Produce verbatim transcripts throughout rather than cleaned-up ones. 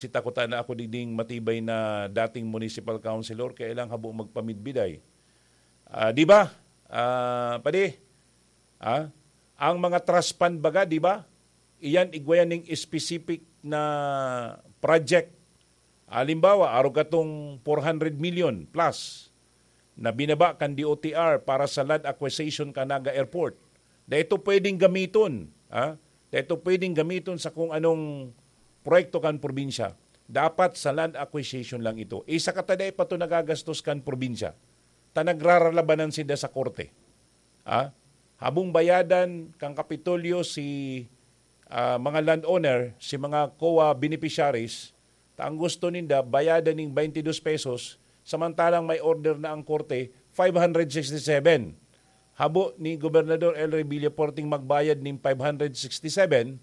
Sita ko ta na ako digding matibay na dating municipal councilor, kaya lang habo magpamidbiday. Ah, di ba? Ah, padi, ah, ang mga trust fund baga, di ba? Iyan, igwa yan ning specific na project. Halimbawa, arog katong four hundred million plus na binaba kan D O T R para sa land acquisition kan Naga Airport. Dai ito pwedeng gamiton, ah? Dai ito pwedeng gamiton sa kung anong proyekto kan probinsya. Dapat sa land acquisition lang ito. Isa ka ta dai pa to nagagastos kan probinsya. Ta nagraralabanan sinda sa korte. Ah? Habong bayadan kan Kapitolyo si, ah, mga landowner, si mga COA beneficiaries, ta ang gusto ninda, bayadan ning twenty-two pesos, samantalang may order na ang korte, five hundred sixty-seven. Habo ni Gobernador El Rey Villafuerte magbayad ning five hundred sixty-seven,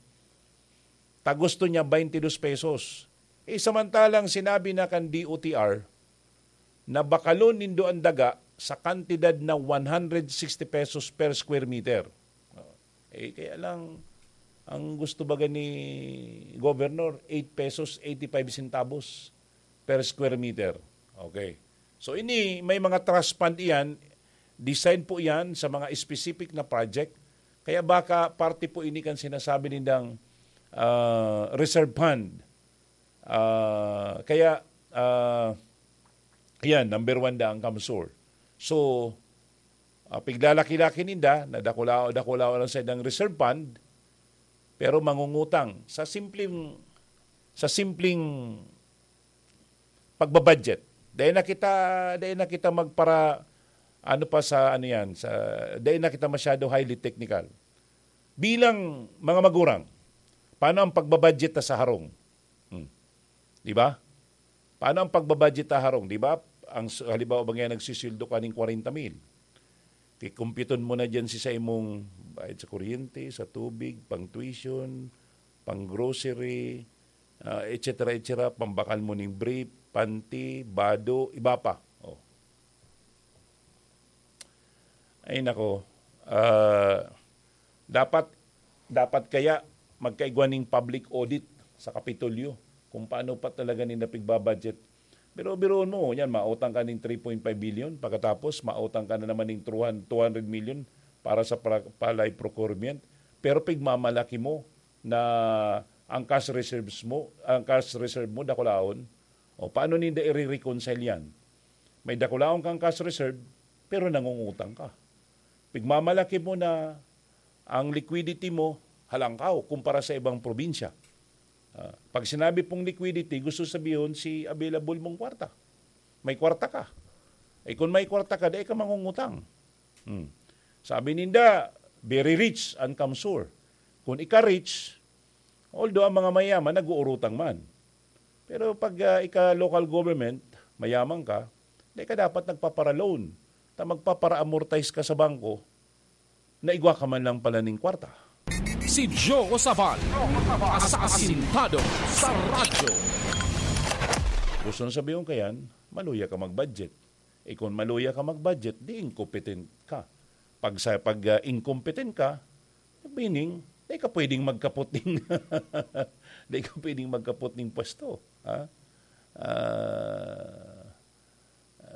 ta gusto niya twenty-two pesos. Eh, samantalang sinabi na kan D O T R na bakalon nindo ang daga sa kantidad na one hundred sixty pesos per square meter. Oh. Eh, kaya lang, ang gusto baga ni Governor, eight pesos, eighty-five centavos per square meter. Okay. So, ini, may mga trust fund iyan, design po iyan sa mga specific na project. Kaya baka parte po ini kan sinasabi nindang, ah, reserve fund. Ah, kaya, ah, yan, number one da ang CamSur. So, ah, piglalaki-laki ninda, na dakula-, dakula lang sa idang reserve fund, pero mangungutang sa simpleng, sa simpleng pagbabudget. Dahil na kita, dahil na kita magpara, ano pa sa, ano yan, sa, dahil na kita masyado highly technical. Bilang mga magurang, paano ang pagbabudget ta sa harong? Hmm. Di ba? Paano ang pagbabudget ta harong? Di ba? Ang s-, halimbawa ba ngayon, nagsisweldo ka ning kwarenta mil. Kikumpyuton mo na dyan si sa imong bayad sa kuryente, sa tubig, pang tuition, pang grocery, ah, et cetera, et cetera, pambakal mo ning brief, panty, bado, iba pa. Oh. Ay nako, ah, dapat, dapat kaya magkaigwa ning public audit sa Kapitolyo kung paano pa talaga ninda pigbabudget. Pero biruon mo, yan, mautang ka ning three point five billion, pagkatapos mautang ka na naman ning two hundred, two hundred million para sa pra-, palay procurement. Pero pigmamalaki mo na ang cash reserves mo, ang cash reserve mo, dakulaon. O, paano ninda i-reconcile yan? May dakulaon kang cash reserve, pero nangungutang ka. Pigmamalaki mo na ang liquidity mo halangkaw kumpara sa ibang probinsya. Ah, pag sinabi pong liquidity, gusto sabihon si available mong kwarta. May kwarta ka. Eh, kung may kwarta ka, dai ka mangungutang. Hmm. Sabi ninda, very rich ang CamSur. Kung ika-rich, although ang mga mayaman nag-uurutang man. Pero pag, ah, ika local government, mayaman ka, dai ka dapat nagpapara-loan. Ta magpapara-amortize ka sa bangko, na igwa ka man lang pala ning kwarta. Si Joe Sabal, asasintado sa radyo. Gusto na sabihin ko yan, maluya ka mag-budget. Eh, kung maluya ka mag-budget, di incompetent ka. Pag sa, pag, ah, incompetent ka, meaning, di ka pwedeng magkapot ning, di ka pwedeng magkapot ning pwesto, ha? Ah,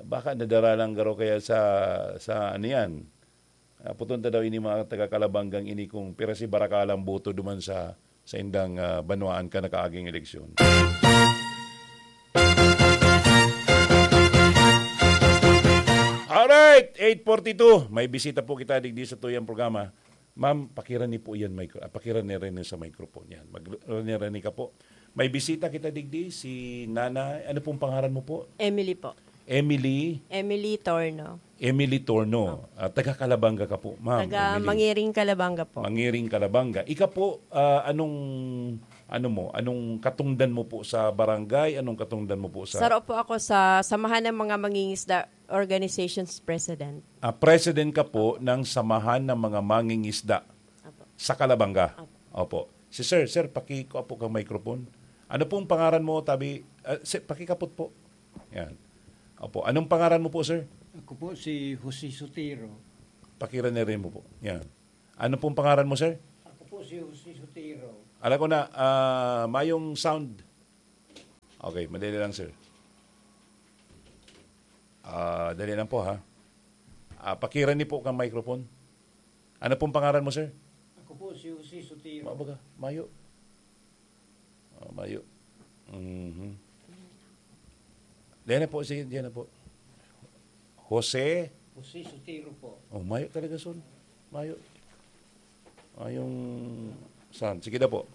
baka nadara lang garo kaya sa, sa ano yan. Ah, puton ta daw ini mga taga Calabanggang ini kung pira si Barakalang boto duman sa, sa indang, ah, banwaan ka nakaaging eleksyon. Alright, eight forty-two. May bisita po kita digdi sa tuyang programa. Ma'am, pakirani po yan, micro-, ah, pakirani rin sa microphone yan. Mag-, rani-rani ka po. May bisita kita digdi, si Nanay, ano pong pangaran mo po? Emily po. Emily? Emily Torno. Emily Torno. Opo. Ah, taga Calabanga ka po, ma'am, Taga Emily. Mangiring, Calabanga po. Mangiring, Calabanga. Ika po, ah, anong, ano mo, anong katungdan mo po sa barangay? Anong katungdan mo po sa Saro po ako sa Samahan ng mga Mangingisda Organizations President. Ah, president ka po ng Samahan ng mga Mangingisda Opo. sa Calabanga. Opo. Opo. Si sir, sir, pakikuha po kang microphone. Ano pong pangaran mo, tabi? Ah, sir, pakikapot po. Yan. Opo. Anong pangaran mo po, sir? Ako po si Jose Sotero. Pakirani rin mo po. Yan. Ano pong pangaran mo, sir? Ako po si Jose Sotero. Alam ko na, ah, mayong sound. Okay, madali lang, sir. Ah, dali lang po, ha. Ah, pakirani po kang microphone. Ano pong pangaran mo, sir? Ako po si Jose Sotiro. Mabaga, mayo. Ah, mayo. Mhm. Diyan na po, sige, diyan na po. Jose? Jose Sotiro po. Oh, mayo talaga, son. Mayo. Ah, yung saan? Sige na po.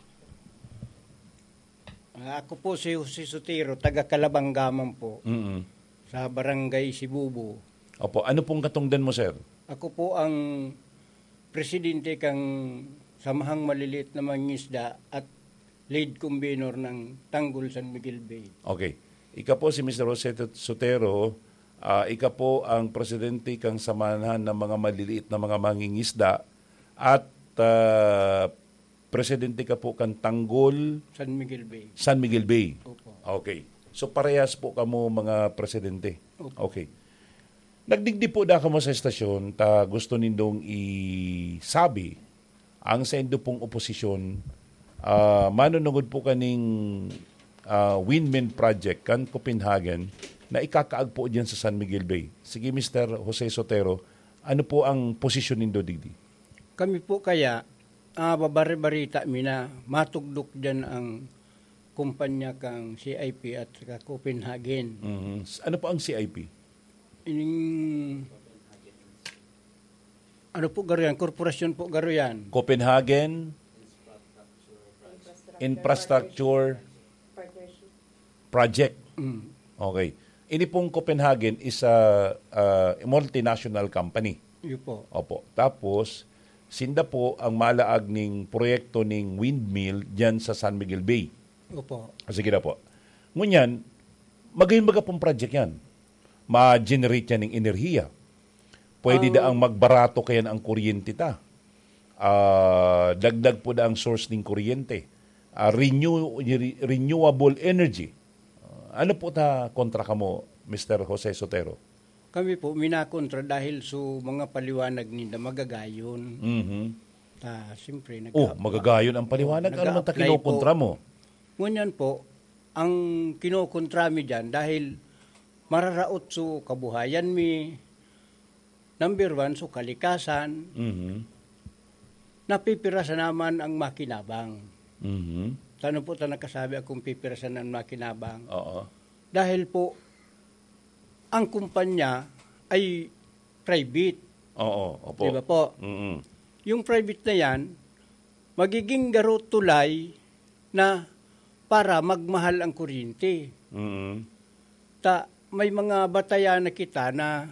Ah, ako po si Jose Sotiro, taga Calabanggaman po, Mm. sa Barangay Sibubo. Opo, ano pong katungdan mo, sir? Ako po ang presidente kang Samahang Maliliit na Mangingisda at lead convenor ng Tanggol San Miguel Bay. Okay. Ika po si Mister Jose Sotero, ah, ika po ang presidente kang Samahan ng mga Maliliit na mga Mangingisda at, ah, presidente ka po kan Tanggol San Miguel Bay. San Miguel Bay. Opo. Okay. So, parehas po kamo mga presidente. Opo. Okay. Nagdigdi po da kamo sa estasyon, ta gusto nindong isabi ang saindo pong oposisyon, ah, manunungod po kaning, ah, windmill project kan Copenhagen na ikakaag po diyan sa San Miguel Bay. Sige, Mister Jose Sotero, ano po ang posisyon nindo digdi? Kami po kaya, ah, babari-barita mi na matugdok diyan ang kumpanya kang C I P at saka Copenhagen. Mhm. S-, ano po ang C I P? Ining, ano po garo yan? Korporasyon po garo yan. Copenhagen Infrastructure Project. Mm. Okay. Ini pong Copenhagen is a, uh, multinational company. Iyo po. Opo. Tapos, sinda po ang malaag ning proyekto ning windmill diyan sa San Miguel Bay. Opo. Ah, sige na po. Ngunyan, magayon baga pong project yan. Ma-generate yan ng enerhiya. Pwede Ang daang magbarato kayan ang kuryente ta. Ah, dagdag po daang source ning kuryente. Ah, renew-, re-, renewable energy. Ah, ano po ta kontra kamo, Mister Jose Sotero? Kami po, minakontra dahil sa mga paliwanag ninda magagayon. Mhm. Ta, siyempre, Oh, nag-a-, magagayon ang paliwanag. Ano man ta nag-a-apply kinukontra po. mo? Ngunyan po, ang kinukontra mi diyan dahil mararaot so kabuhayan mi, number one, so kalikasan, Mhm. napipirasa naman ang makinabang. Mhm. Sano po ta nakasabi akong pipirasa ng makinabang? Oo. Dahil po, ang kumpanya ay private. Oo, opo. Di ba po? Mm-mm. Yung private na yan, magiging garo tulay na para magmahal ang kuryente. Mm-mm. Ta, may mga batayan na kita na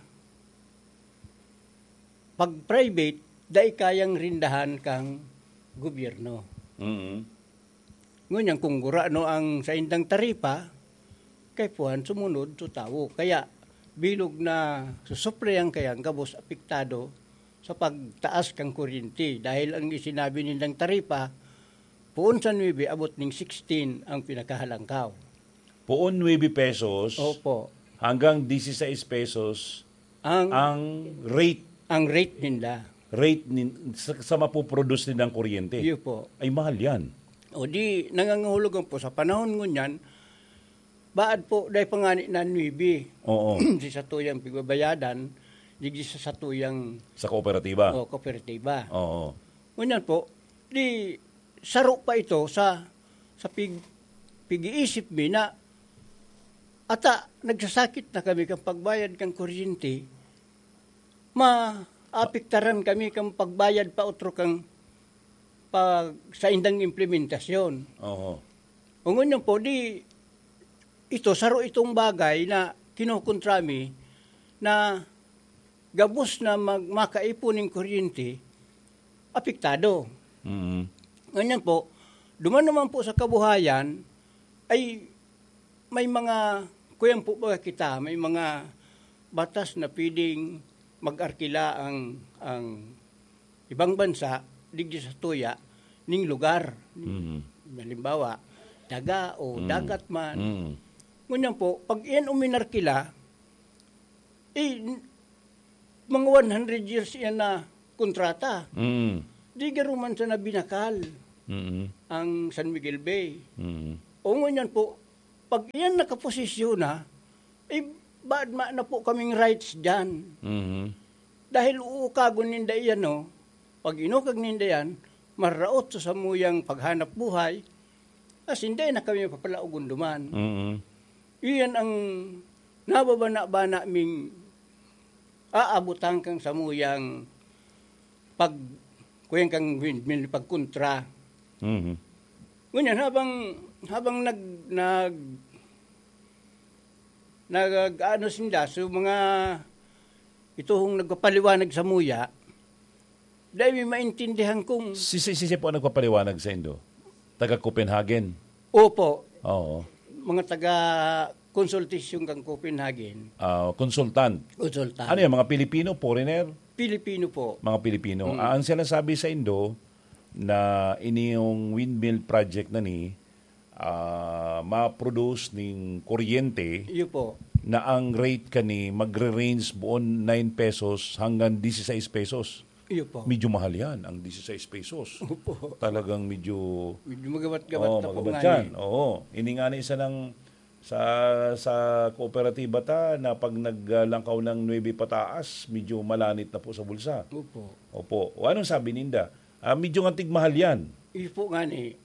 pag private, dai kayang rindahan kang gobyerno. Mm-mm. Ngunyan, kung gurano ang saindang taripa, kaipuhan sumunod so tawo. Kaya, bilog na susuplihan kaya ang gabos apektado sa pagtaas kan kuryente. Dahil ang isinabi nindang taripa, poon sa nuebe abot ning sixteen ang pinakahalangkaw. Poon nuebe pesos Opo. hanggang dieciséis pesos Ang, ang rate. ang rate ninda. Rate nin-, sa, sa mapoproduce nindang kuryente. Iyo po. Ay, mahal yan. O di, nangangahulugan po, sa panahon ngunyan, baad po, dahil pa nga ni na nuebe, Oo. si satuyang pigbabayadan, digdi sa satuyang Sa kooperatiba. o kooperatiba. Oo. Ngunyan po, di, saro pa ito sa, sa pig-, pig-iisip mi na, ata, nagsasakit na kami kan pagbayad kan kuryente, maapektaran kami kan pagbayad pa otro kan pag, saindang implementasyon. Oo. O ngunyan po, di, ito, saro itong bagay na kinukontra mi na gabos na mag-, makaipon ning kuryente, apektado. Mm. Ngunyan po, duman naman po sa kabuhayan, ay may mga, kuyan po ba kita, may mga batas na pwedeng mag-arkila ang, ang ibang bansa, digdi sa tuya, ning lugar. Mm. Halimbawa, daga o Mm. dagat man. Mm. Ngunyan po, pag iyan uminarkila, eh, n-, mga one hundred years iyan na kontrata. Mm. Di garo man sana binakal Mm. ang San Miguel Bay. Mm. O ngunyan po, Pag iyan nakaposisyon na, eh, baad ma-, na po kaming rights diyan. Mhm. Dahil uukagon ninda iyan, no? Pag inukag ninda yan, maraot sa samuyang paghanap buhay, asin dai na kami mapapalaogon duman. Mhm. Iyan ang nababana-bana ming aabotan kan samuyang pag-, kuyan kan windmill, pagkontra. Mhm. Ngunyan, habang, habang nag-, nag-, nag-, ano sinda, so mga ituhong nagpapaliwanag samuya, dai mi maintindihan kung Si, si, si, si po ang nagpapaliwanag sa indo? Taga Copenhagen? Opo. Oo. Mga taga konsultasyon kang Copenhagen. Ah, consultant. Consultant. Ano yan? Mga Pilipino? Foreigner? Pilipino po. Mga Pilipino. Mm. Ah, ang sinasabi sa indo na ini yung windmill project na ni, ah, ma-produce ning kuryente Iyo po. na ang rate kani magre-range buon nine pesos hanggang dieciséis pesos. Iyo po. Medyo mahal yan, ang dieciséis pesos. Opo. Talagang medyo Medyo magabat-gabat Oo, na po magabat nga yan. eh. Oo. Ini nga ni isa ng sa, sa kooperatiba ta na pag naglangkaw ng nuebe pataas, medyo malanit na po sa bulsa. Opo. Opo. O anong sabi ninda? Ah, medyo nga tigmahal yan. Iyo po nga ni.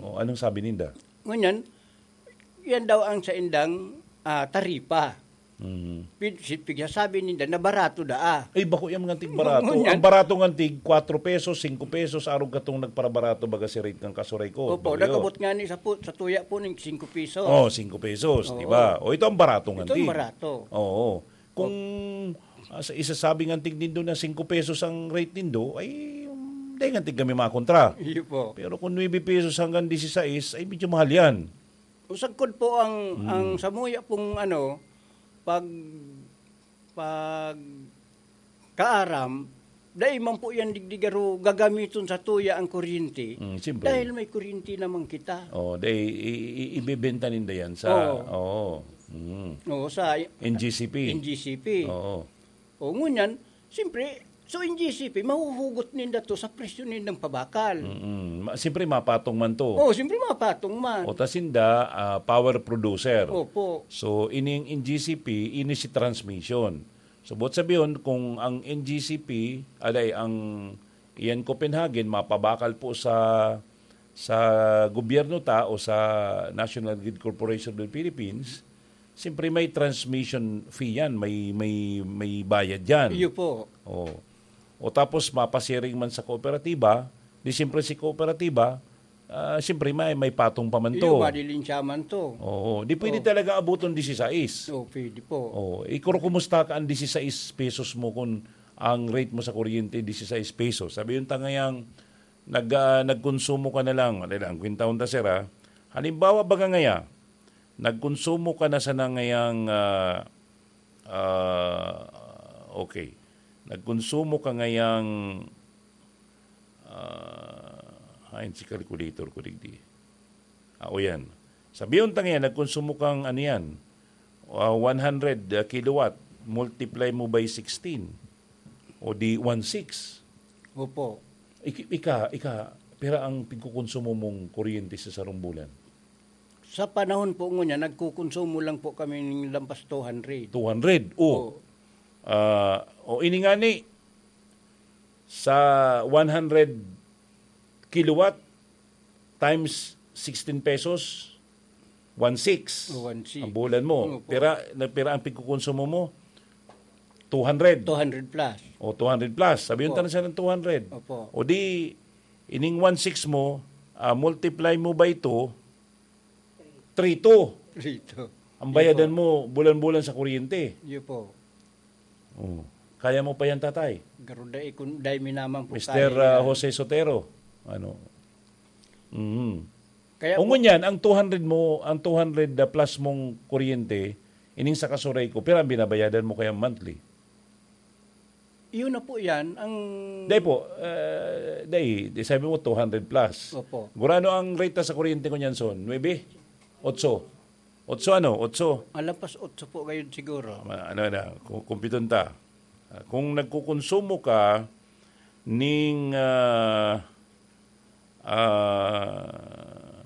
O anong sabi ninda? Ngunyan, yan daw ang saindang, ah, taripa. Mhm. Pig-, si-, pigsasabi ninda na barato daa. Ay, bako yung mga tig barato. Ngunyan. Ang barato nga tig, kwatro pesos, singko pesos, arog katong nagparabarato, baga si rate ng kasuray ko. Opo, Bagyo. nagabot nga ni sa pu-, sa tuya po ng singko pesos. Oh, singko pesos, Oo. di ba? O, ito ang barato nga Ito ang tig. barato. Oo. Kung, ah, sa isasabi nga tig nindo na singko pesos ang rate nindo, ay, um, dahil nga tig kami makontra. Iyo po. Pero kung nuebe pesos hanggang dieciséis, ay medyo mahal yan. Usagkod po ang, Mm. ang samuya pong ano, pag, pag kaaram, dai man po yan digdi garo gagamiton sa tuya ang kuryente. Mm, siyempre. Dahil may kuryente naman kita. Oh, dai, i-, i-, ibebenta ninda yan sa, Oo. oo. Mm. Oo, sa N G C P. N G C P. Oo. O, ngunyan, siyempre, so N G C P, mahuhugot ninda to sa presyo nindang pabakal. Mm-mm. Ma-, siyempre, mapatong man to. Oo, siyempre, mapatong man. O, ta sinda, ah, power producer. Opo. So, ining N G C P, ini si transmission. So, buot sabihon, kung ang N G C P, aday, ang iyan Copenhagen, mapabakal po sa, sa gobyerno ta o sa National Grid Corporation of the Philippines, siyempre may transmission fee yan, may, may, may bayad yan. Iyo po. O. O tapos mapasiring man sa kooperatiba, di siyempre si kooperatiba, ah, siyempre may, may patong pa man Iyo, to. madilinsya man to. Oo, di pwede Oh. talaga abuton dieciséis. Oh, pwede po. Oh, ikuro kumusta ka ang dieciséis pesos mo kung ang rate mo sa kuryente dieciséis pesos. Sabi yung tangayang nag, ah, nagkonsumo ka na lang, wala lang, kwentahon ta, sir, ah. Halimbawa, baga ngaya, nagkonsumo ka na sana ngayang, ah, ah, okay. Nagkonsumo ka ngayang, ah, hain si calculator ko digdi. Ah, o yan. Sabiyon ta ngayon, nagkonsumo kang ano yan, ah, one hundred kilowatt, multiply mo by sixteen. O di one six. Opo. Ik-, ika, ika, pira ang pigkukonsumo mong kuryente sa sarong bulan? Sa panahon po ngunyan, nagkukonsumo lang po kami ng lampas two hundred. Two hundred? Oh. Oo. Ah, o ini nga ni, sa one hundred kilowatt times sixteen pesos, one six Oh, one six. ang bulan mo. Opo. Pira, na, pira ang pigkukonsumo mo? Two hundred. Two hundred plus. O, two hundred plus. Sabihin Opo. ta na siya ng two hundred. Opo. O di, ining one six mo, ah, multiply mo by two, three two. Three two. Ang bayadan Iyo po. mo, bulan-bulan sa kuryente. Iyo po. Oh. Kaya mo pa yan, tatay? Garo dai kun-, dai mi naman po Mister, kaya ah, yan. Jose Sotero. Ano? Mhm. Kaya O po ngunyan, ang two hundred mo, ang two hundred plus mong kuryente, ining sa kasuray ko, pero ang binabayadan mo kaya monthly? Yun na po yan, ang Dai po, eh, dai, di sabi mo two hundred plus. Opo. Gurano ang rate ta sa kuryente ko niyan, son? Nuebe? Otso? Otso ano? Otso? Alampas otso po gayon siguro. Ma-, ano na, ku-, kumpiton ta. Ah, kung nagkukonsumo ka ning, ah, ah,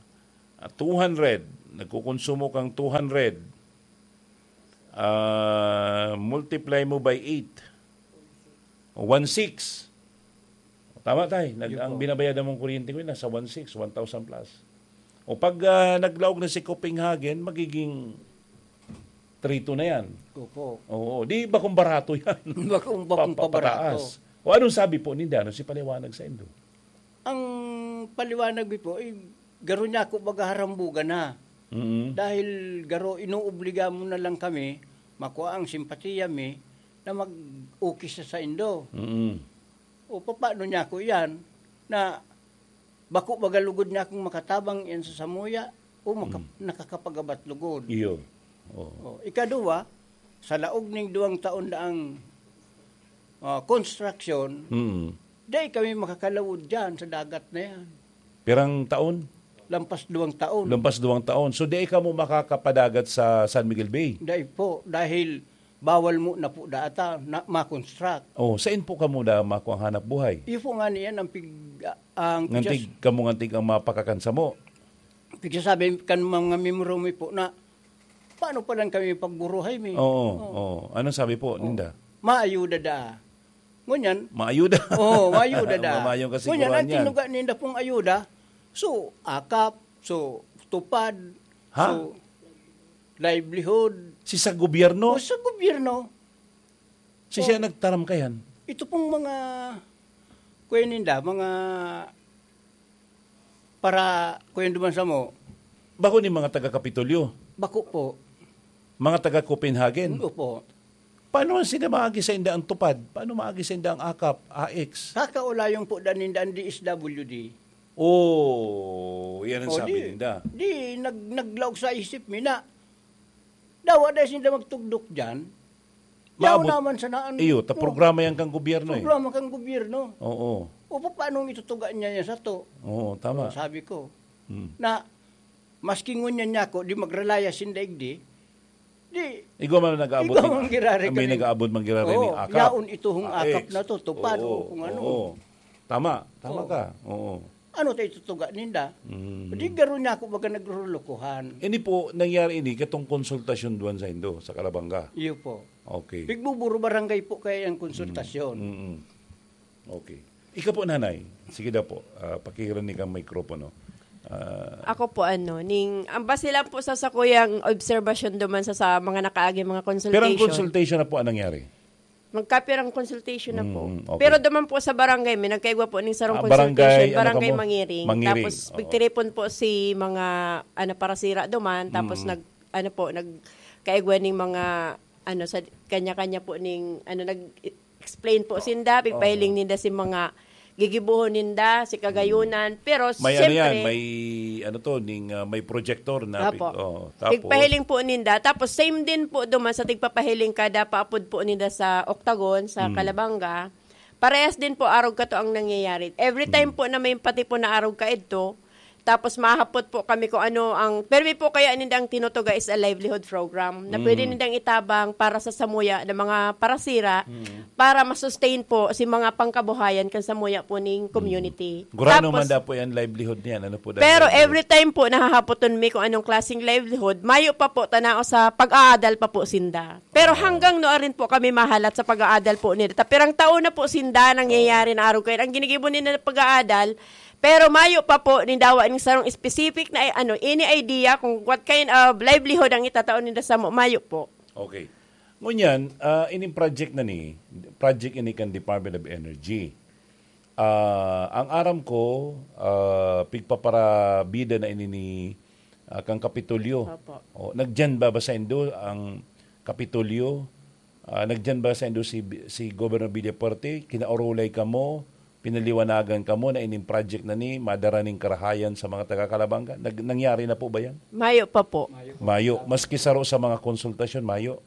two hundred, nagkukonsumo kang two hundred, ah, multiply mo by eight, one six. Tama, tay. Nag, Yun ang po. Binabayadan mong kuryente ko, nasa one six, one thousand plus. O pag, ah, naglaog na si Copenhagen, magiging three two na yan. Opo. Oo, di bakong barato yan? Bakong, bakong Pa-, pa-, pabarato. Papataas. O anong sabi po ninda? Ano si paliwanag sa indo? Ang paliwanag mi po, eh, garo niya ako baga harambugan na. Mm. Dahil garo, inuobliga mo na lang kami, makua ang simpatiya mi, na mag-ukis sa saindo. Mm. O, papaano niya ako iyan? Na bako baga lugod niya akong makatabang iyan sa samuya, o maka-, Mm. nakakapagabat lugod. Iyo. Oo. O, ikaduwa, sa laog ning duwang taon na ang, ah, construction, Mm. dai kami makakalawod diyan sa dagat na yan. Pirang taon? Lampas duwang taon. Lampas duwang taon. So, dai kamo makakapadagat sa San Miguel Bay? Dai po, dahil bawal mo na po data na ma-construct. Oh, sain po kamo da makuha ang hanap buhay? Iyo po nga niyan ang pig-, ang Ngantig, pigsa-, kamo ngantig ang mapakakan samo? Pigsasabi kan mga miyembro mi po na, "Paano pa lang kami pagburuhay mi?" Oo, Oo. oo. Anong sabi po Oo. ninda? Maayuda da. Ngunyan, Maayuda. Oo, maayuda da. Mamayong Ngunyan, kasiguruhan ang yan. tinuga ninda pong ayuda, so, akap, so, tupad, Ha? so, livelihood. Si sa gobyerno? O, sa gobyerno. Si siya Oh. nagtaram kayan? Ito pong mga, kuya ninda, mga para, kuya duman sa mo. Bako ni mga taga Kapitolyo? Bako po. Mga taga Copenhagen? Opo. Paano ang sila maagi sa inda ang tupad? Paano maagi sa inda ang akap, A X? Kakaulayon po da ninda ang D S W D. Oh, yan ang O, sabi di, ninda. di, nag-, naglaog sa isip mi na, dawa dahil sinda magtugdok dyan, yaw Maabot. naman sa naan. Iyo, ta Oh, programa yan kang gobyerno eh. programa kang gobyerno. Oo. O, paano itutuga niya yan sa to? Oo, tama. Sabi ko, Hmm. na, maski ngunyan niya ako, di magralaya sinda igdi, di, Igwa man nag-aabot igwa ning, man girari may kami. nag-aabot man girari Oo, ning akap. yaon ito hong Ah, akap ex. na to, tupad Oo, o kung ano. oo. Tama, tama Oo. ka. Oo. Ano tayo tutuga ninda? Mm. Di garo niya ako baga nagrulukuhan. Ini po, nangyari ini katong konsultasyon duwan sa Indo, sa Calabanga? Iyo po. Okay. Pigbuburo barangay po kaya ang konsultasyon. Mm, mm. Okay. Ika po, nanay. Sige daw po. Ah, pakihiran ni kang mikropono. Ah, Ako po, ano, ning, ang base lang po sa sakuyang obserbasyon duman sa, sa mga nakaagi mga Pero ang consultation. consultation na po ang nangyari? Magkapirang consultation na po. Mm, okay. Pero duman po sa barangay, may nagkaigwa po ning sarong Ah, barangay, consultation, ano barangay kamo? Mangiring. Mangiring, Tapos, oo. pigtiripon po si mga, ano, parasira duman. Tapos, Mm. nag, ano po, nagkaigwa ning mga, ano, sa kanya-kanya po ning, ano, nag-explain po Oo. sinda, pigpahiling Oo. ninda si mga gigibuhon ninda, si kagayunan. Mm. Pero, May ano yan, siyempre, may, ano to, ning, ah, may projector na Apo. pig-, oh, tapos Pigpahiling po ninda. Tapos same din po duman sa tigpapahiling kada paapod po ninda sa Octagon, sa Mm. Calabanga. Parehas din po arog kato ang nangyayari. Every time Mm. po na may patipon na arog kaidto, tapos mahapot po kami kung ano ang, permi po kaya ninda ang tinutuga is a livelihood program na pwede Mm. nindang itabang para sa samuya na mga parasira Mm. para ma-sustain po si mga pangkabuhayan kan samuya po ning Mm. community. Gurano Tapos, man da po yan, livelihood niyan? Ano po da pero livelihood? every time po nahahapoton mi kung anong klaseng livelihood, mayo pa po tanao sa pag-aadal pa po sinda. Pero Ah. hanggang no arin po kami mahalat sa pag-aadal po nila. Tapirang taon na po sinda nangyayari na arog kayo. Ang ginigibo nila na pag-aadal, pero mayo pa po nindawa ning sarong specific na, ano, any idea kung what kind of livelihood ang itatao ninda sa mo, mayo po. Okay. Ngunyan, ah, ining project na ni, project ini kan Department of Energy. Ah, ang aram ko, ah, pigpaparabida na ini ni, ah, kang Kapitolyo. Opo. O, nagdiyan ba, ba sa Indo ang Kapitolyo? Ah, nagdiyan ba sa Indo si, si Governor Villafuerte? Kinaorolay kamo, pinaliwanagan kamo na ining project na ni, madara ning karahayan sa mga taga Calabanga? Nag-, nangyari na po ba yan? Mayo pa po. Mayo. Maski saro sa mga konsultasyon, mayo.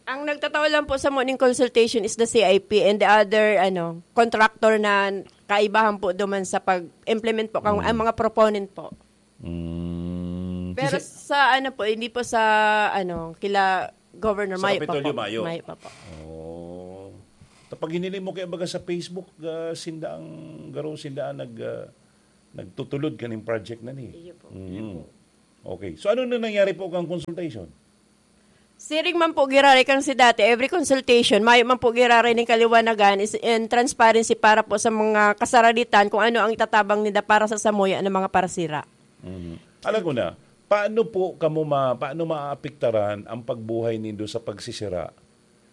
Ang nagtatao lang po sa morning consultation is the C I P and the other, ano, contractor na kaibahan po duman sa pag-implement po kang, Mm. ang mga proponent po. Mm. Pero Kasi sa, ano po, hindi po sa, ano, kila Governor Sa Mayo pa Kapitolyo, po. Mayo. Mayo pa po. Oh. Tapag hinili mo kaya baga sa Facebook, ah, sinda ang garo, sinda ang nag, ah, nagtutulod kaning project na ni. Iyo po. Mm. Iyo po. Okay. So, ano na nangyari po kang consultation? Siring man po giraray kan si dati, every consultation, mayo man po giraray ning kaliwanagan is in transparency para po sa mga kasaraditan kung ano ang itatabang nila para sa samuya ng mga parasira. Mhm. Alam ko na, paano po kamo ma-, paano maapektaran ang pagbuhay nindo sa pagsisira?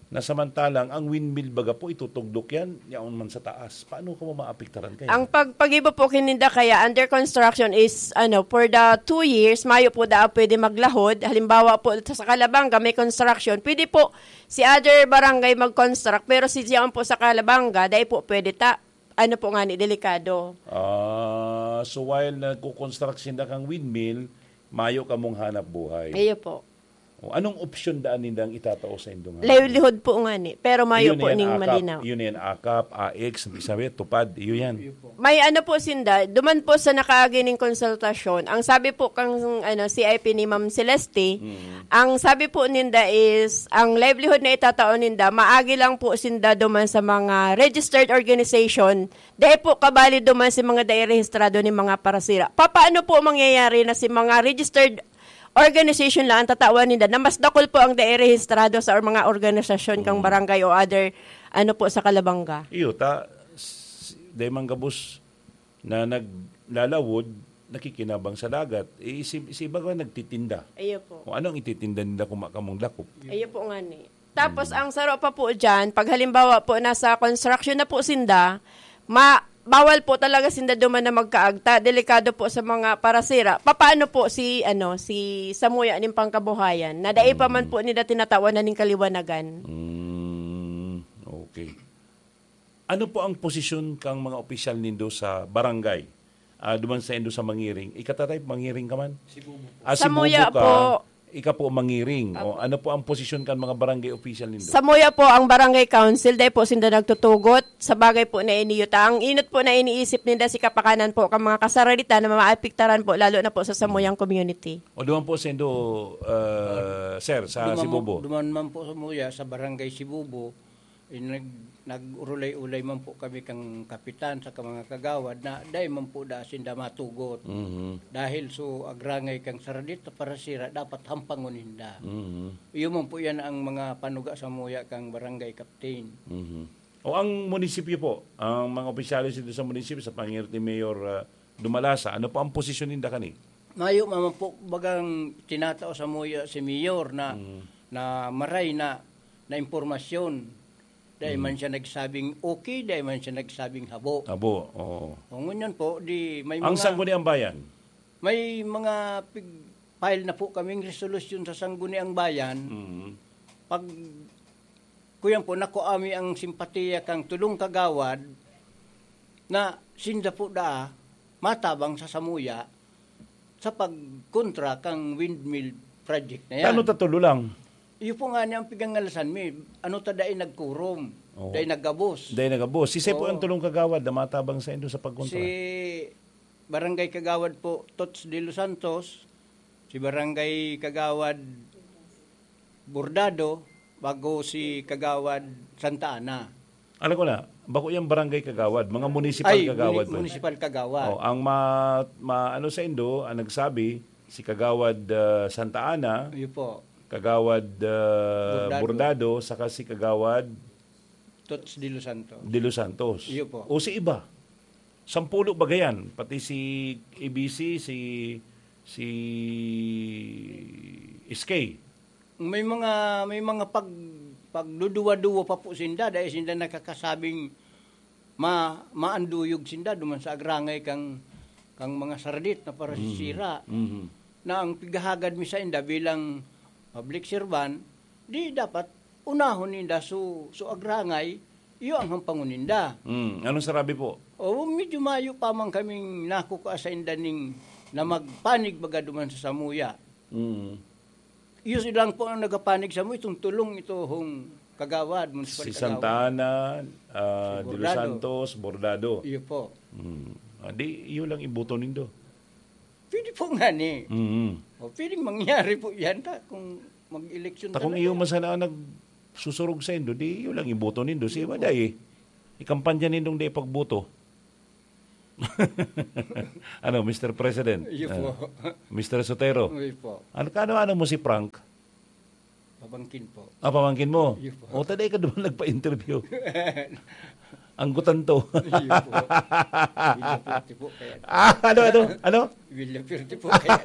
Na samantalang ang windmill baga po itutugdok yan, yaon man sa taas. Paano kamo maapektaran kaya? Ang pag-, pag-iba po kininda kaya under construction is, ano, for the two years, mayo po daa pwede maglahod. Halimbawa po, sa Calabanga, may construction. Pwede po si other barangay mag-construct, pero si Zion po sa Calabanga, dai po pwede ta. Ano po nga ni, delikado. Ah, so while nagko-construct sinda kang windmill, mayo kamong hanap buhay. Iyo po. O, anong opsyon daan nindang itatao sa indong hanap? Livelihood po nga ni, pero mayo Iyo na po yan, ning akap. malinaw. Iyo na yan, akap, A X, sabi, tupad, iyo yan. May ano po sinda, duman po sa nakaagi ning konsultasyon, ang sabi po kang, ano, C I P ni Ma'am Celeste, Mm. ang sabi po ninda is, ang livelihood na itatao ninda, maagi lang po sinda duman sa mga registered organization, dai po kabali duman si mga dai rehistrado ni mga parasira. Papaano po mangyayari na si mga registered organization lang ang tatawan ninda na mas dakul po ang dai rehistrado sa or mga organisasyon kang Mm. barangay o other, ano po, sa Calabanga? Iyo, ta, s-, dai man gabos na naglalawod, nakikinabang sa dagat. Eh, si, si iba ka nagtitinda. Iyo po. Kung ano ang ititinda nila kung makamong dakop. Iyo po nga ni. Tapos, Mm. ang saro pa po dyan, pag halimbawa po nasa construction na po sinda, ma-, bawal po talaga sinda duman na magkaagta. Delikado po sa mga parasira. Papaano po si, ano, si samuya nin pangkabuhayan? Na dai pa man Mm. po nila tinatawan na ning kaliwanagan. Mm, okay. Ano po ang posisyon kang mga opisyal nindo sa barangay? Ah, duman sa indo sa Mangiring. Ika, Tatay, Mangiring ka man? Sibubo po. Ah, Samuya Sibubo ka, po. Ika po Mangiring. O, Apo. Ano po ang posisyon kan mga barangay official nindo? Samuya po ang barangay council, dai po sinda nagtutugot. Sa bagay po na ini, yuta. Ang inot po na iniisip ninda si kapakanan po kang mga kasaraditan na maapektaran po, lalo na po sa samuyang community. O, duman po sa indo, uh, sir, sa Duman mo-, Sibubo? Duman man po sa Muya, sa barangay Sibubo, eh, nag-, nag-urulay-ulay man po kami kang kapitan sa mga kagawad na dai man po da sinda matugot. Mhm. Dahil so agrangay kang saradit na parasira, dapat hampangon ninda. Mhm. Iyo man po yan ang mga panuga sa Muya kang barangay captain. Mhm. O ang munisipyo po, ang mga opisyales dito sa munisipyo, sa pangirti Mayor, ah, Dumalasa, ano po ang posisyon ninda kani? Mayo man po bagang tinatao sa Muya si Mayor na, Mm. na maray na, na impormasyon. Dai Mm. man siya nagsabing okay, dai man siya nagsabing habo. Habo, oo. O, ngunyan po, di may Ang mga Sangguniang Bayan? May mga pig-, file na po kaming resolusyon sa Sangguniang Bayan. Mm. Pag, kuyan po, nakuha mi ang simpatiya kang tulong kagawad na sinda po daa matabang sa samuya sa pagkontra kang windmill project na yan. Tano ta tulo lang? Iyo po nga ni ang pigangalasan mi. Ano ta dai nagkurom, Oo. dai nagabos. Dai nagabos. Sisay po Oo. ang tulong kagawad na matabang sa indo sa pagkontra? Si Barangay Kagawad po, Tots de los Santos, si Barangay Kagawad Bordado, bago si Kagawad Santa Ana. Alam ko na, bako yang barangay kagawad, mga municipal Ay, kagawad muni-, ba? municipal kagawad. Oh, ang ma-, ma-, ano sa indo, ang nagsabi, si Kagawad, ah, Santa Ana, Iyo po. Kagawad, ah, Bordado. Bordado, saka si Kagawad Tots de los Santos. De los Santos. Iyo po. O si iba? Sampulo ba gayan? Pati si A B C, si, si S K. May mga, may mga pag-, pagduduwa-duwa pa po sinda, dahil sinda nakakasabing ma-, maanduyog sinda duman sa agrangay kang, kang mga sardit na parasisira. Mhm. Mhm. Na ang pighahagad mi sa inda bilang public servant, di dapat unahon ninda su, su agrangay, iyo ang hampangon ninda. Mm. Anong sarabi po? O, medyo mayo pa man kaming nakukua sa inda ning na magpanig baga duman sa samuya. Mm. Iyo silang po ang nagapanig sa mo, itong tulong ito, hong kagawad, municipal Si kagawad. Santa Ana, ah, Si De Los Bordado. Santos, Bordado. Iyo po. Mm. Ah, di, iyo lang iboto nindo. Pwede po nga ni. Mm. O, pwedeng mangyari po yan ta, kung mag-eleksyon Ta kung talaga. iyo man sana ang nagsusurog sa indo, di iyo lang iboto nindo. Si Iyo iba po. dai, ikampanya nindong di pagboto. Ano, Mister President? Iyo po. Ah, Mister Sotero? Iyo po. Ano, kaano-ano mo si Frank? Pamangkin po. Ah, pamangkin mo? Iyo po. O, taday ka doon nagpa-interview. Ang gutan to. Iyo po. Villa Fuerte po, kaya Ah, ano, ano? Ano? Villa Fuerte po, kaya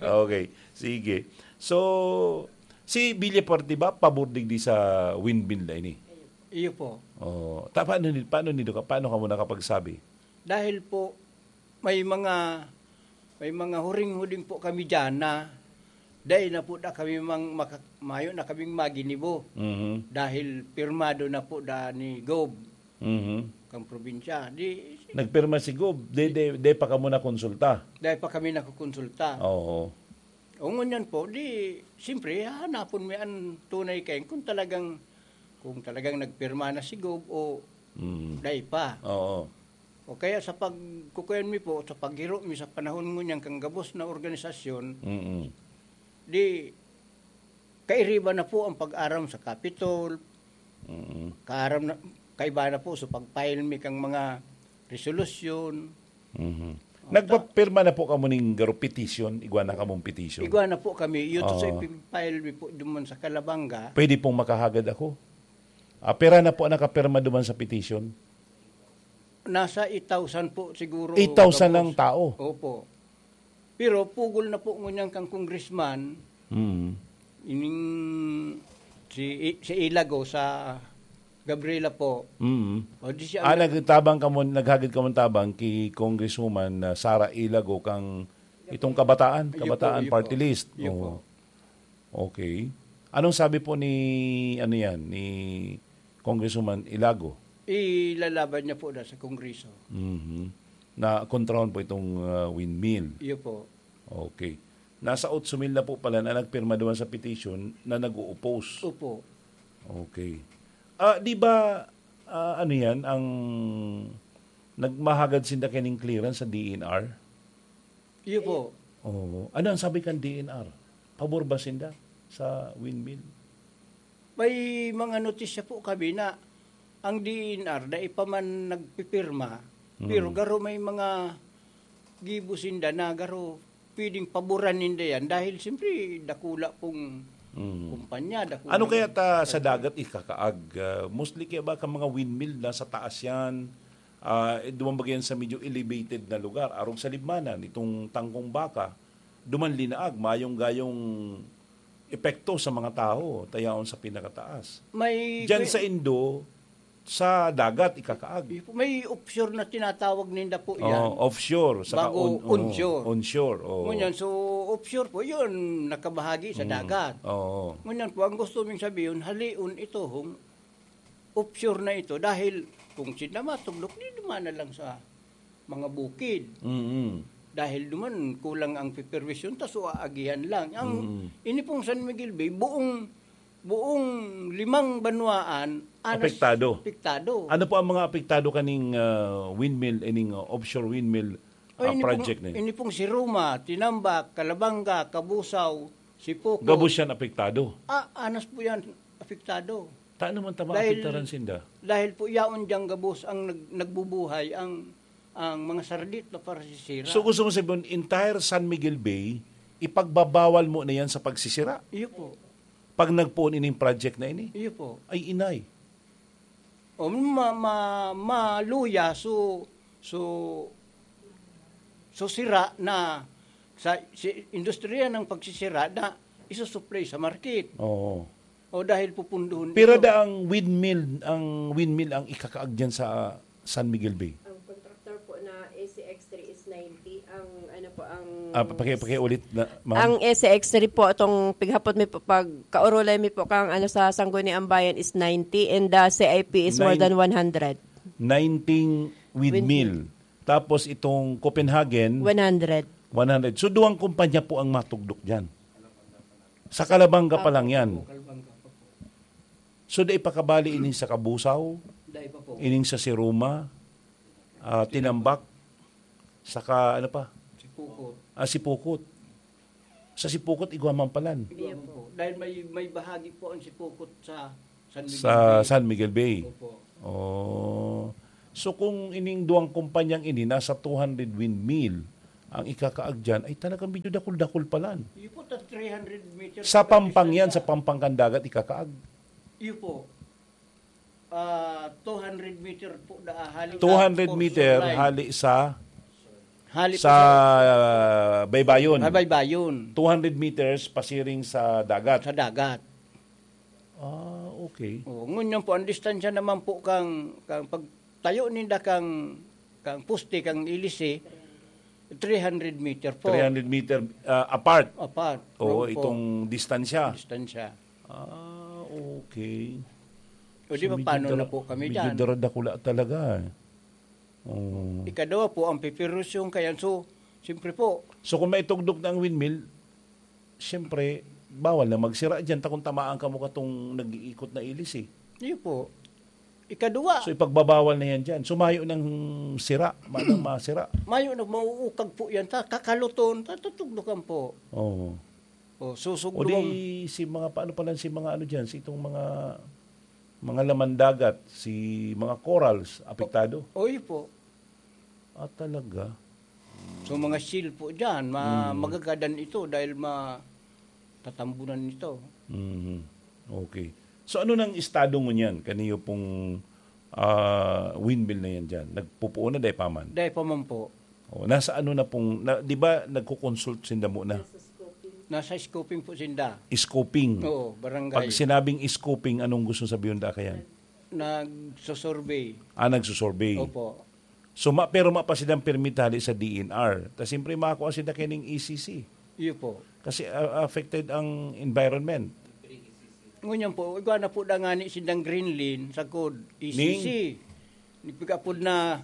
Okay, sige. So, si Villa Fuerte ba, pabor digdi sa windmill na ini? Iyo po. Oh, ta-, paano ni-, paano nindo ka, paano ka mo nakapagsabi? Dahil po, may mga, may mga huring-huling po kami diyan na dai na po da kami mang maka-, mayo na kaming maginibo. Mhm. Dahil pirmado na po da ni Gob Mhm. kang probinsya. Di, Nagpirma si Gob, de, de, de pa kamo nakonsulta? Dai pa kami nakokonsulta. Oo. O ngunyan po, di, siyempre, hahanapon mi an tunay kayan kung talagang, kung talagang nagpirma na si Gob o Mm. dai pa. Oo. O kaya sa pagkukuyan mi po, sa paghiro mi sa panahon ngunyan kang gabos na organisasyon, Mm. di, kairiba na po ang pag-aram sa Capitol, Mm. kaaram na, kaiba na po sa pag-file mi kang mga resolusyon. Mhm. O, ta- Nagpapirma na po kamo ning garo petition? Igwa na kamong petition? Igwa na po kami. Iyo to sa Oo. ipin-file mi po duman sa Calabanga. Pwede pong makahagad ako? Ah, pera na po ang nakapirma duman sa petition? Nasa eight thousand po siguro Eight thousand gabos. ang tao? Opo. Pero pugol na po ngunyan kang congressman, Mm. ining si, si Ilago sa Gabriela po. Mm. O, di siya Ah, ang nag- nagtabang kamo, naghagad kamo ng tabang ki Congresswoman, ah, Sara Ilago kang itong kabataan, Iyo po, kabataan iyo party po. list. Iyo Oo. po. Okay. Anong sabi po ni, ano yan, ni Congresswoman Ilago? Ilalaban niya po na sa Kongreso. Mhm. Na kontrahon po itong, ah, windmill. Iyo po. Okay. Nasa otso mil na po pala na nagpirma duman sa petition na nag-o-oppose. Opo. Okay. Ah, di ba, ah, ano yan, ang nagmahagad sinda kining clearance sa D E N R? Iyo po. Oo. Ano ang sabi kan D E N R? Pabor ba sinda sa windmill? May mga notisya po kami na ang D E N R dai pa man nagpipirma, Mm. pero garo may mga gibo sinda na garo pwedeng paboran ninda yan dahil siyempre dakula pong Mm. kumpanya, dakula Ano kaya ng ta sa dagat ikakaag? Ah, mostly kaya ba ka mga windmill nasa taas yan? Ah, eh, duman ba yan sa medyo elevated na lugar? Arog sa libmanan, itong tangkong baka, duman linaag, mayong gayong epekto sa mga tao, tayaon sa pinakataas. May Diyan kwe- sa Indo, sa dagat, ikakaag. May offshore na tinatawag ninda po yan. Oh, offshore, saka Bago on-, oh, onshore. onshore, oh. Ngunyan, so offshore po, yun, nakabahagi sa Mm, dagat. oo. Ngunyan po, ang gusto ming sabihin, halion ito, hong offshore na ito, dahil kung sila matugdok, di duman na lang sa mga bukid. Mm-mm. Dahil duman, kulang ang supervision, tas o aagihan lang. Ang Mm. ini pong San Miguel Bay, buong, buong limang banwaan, anas Apektado. apektado. Ano po ang mga apektado kaning, ah, windmill, ining, ah, offshore windmill, O, ah, ini pong, project na yun? ini pong si Roma, Tinambac, Calabanga, Cabusao, Sipuco. Gabos yan apektado? Ah, anas po yan apektado. Ta naman ta Dahil, maapektaran sinda? dahil po yaon diyang gabos ang nag-, nagbubuhay ang, ang mga sardit na para sisira. So, gusto mo sabihin, entire San Miguel Bay, ipagbabawal mo na yan sa pagsisira? Iyo po. Pag nagpoon ining project na ini? Iyo po. Ay, inay. O, ma-, ma-, maluya, so, so, so sira na sa, si industriya ng pagsisira na isusupply sa market. Oo. O, dahil pupunduhon Pira ito. da ang windmill, ang windmill ang ikakaag dyan sa San Miguel Bay? Ang contractor po na A C X three is ninety. Ang ano po, ang Ah, paki-, pakiulit na, ma'am. Ang S X three po, itong pighapot mi po, pag kaurulay mi po kang ano, sa Sangguniang Bayan is ninety and the C I P is more Nine- than one hundred. Nineteen windmill. Windmill. Tapos itong Copenhagen, One hundred. one hundred. So, duwang kumpanya po ang matugdok dyan. Sa Calabanga pa Apo. lang yan. Opo, Calabanga pa po. So, dai pa kabali ining sa Cabusao, Dai pa po. ining sa Siruma, ah, Tinambac, saka ano pa? Sipucot. Ah, Sipucot. Sa Sipucot, igwa man palan. Igwa man po. Dahil may, may bahagi po ang Sipucot sa San Miguel Sa Bay. San Miguel Bay. Opo. Oh. So kung ining duwang kumpanyang ini nasa two hundred windmill ang ikakaag diyan, ay talagang medyo dakul-dakul palan. Iyo po, ta three hundred meters Sa po ang pampang yan, distansya. Sa pampang kan dagat ikakaag. Iyo po. Ah, two hundred meter po da, hali sa two hundred portion meter line. Hali sa Hali po sa sa baybayon. Baybayon. Two hundred meters pasiring sa dagat. Sa dagat. Ah, okay. Oh, ngunyan po, ang distansya naman po kang, kang pagtayo ninda kang, kang poste, kang ilisi, three hundred meter po. Three hundred meter ah, apart. Apart. Oo, Opo. Itong distansya. Distansya. Ah, okay. O di ba, medyo paano dara- na po kami medyo dyan? Daradakula talaga. Oo. Ikadawa po, ang pipirusyon kayan. So, siyempre po, So kung maitugdok na ang windmill, siyempre, bawal na magsira dyan. Takong tamaan ka mo katong nag-iikot na ilis eh. Iyo po. Ikadua, So ipagbabawal na yan dyan. So mayo ng sira, manang masira. Mayo na mauukag po yan. Ta, kakaluton, ta, tutugdukan po. Oo. O, O susugdong. Di si mga, paano pala si mga ano dyan, si itong mga mga laman dagat, si mga corals, apektado. O, iyo po. Ah, talaga? So, mga seal po dyan, ma, magagadan ito dahil ma, tatambunan ito. Mhm. Okay. So ano nang estado ngunyan kaniyo pong ah, windmill na yan dyan? Nagpupuo na dai pa man? Dahil pa man po, Oh, nasa ano na pong, na, di ba nagko-consult sinda muna? Nasa scoping po sinda. Scoping. Oo, barangay. Pag sinabing scoping, anong gusto sabihin da kayan? Nagsosurvey. Ah, nagsusurvey. Opo. So, ma, pero mapa silang permit hali sa D N R. Ta siyempre, makakuha sila kining E C C. Iyo po. Kasi ah, affected ang environment. Ngunyan po, igwa na po da nga ni sindang Greenland, sagkod, E C C. Nagpag-apod na,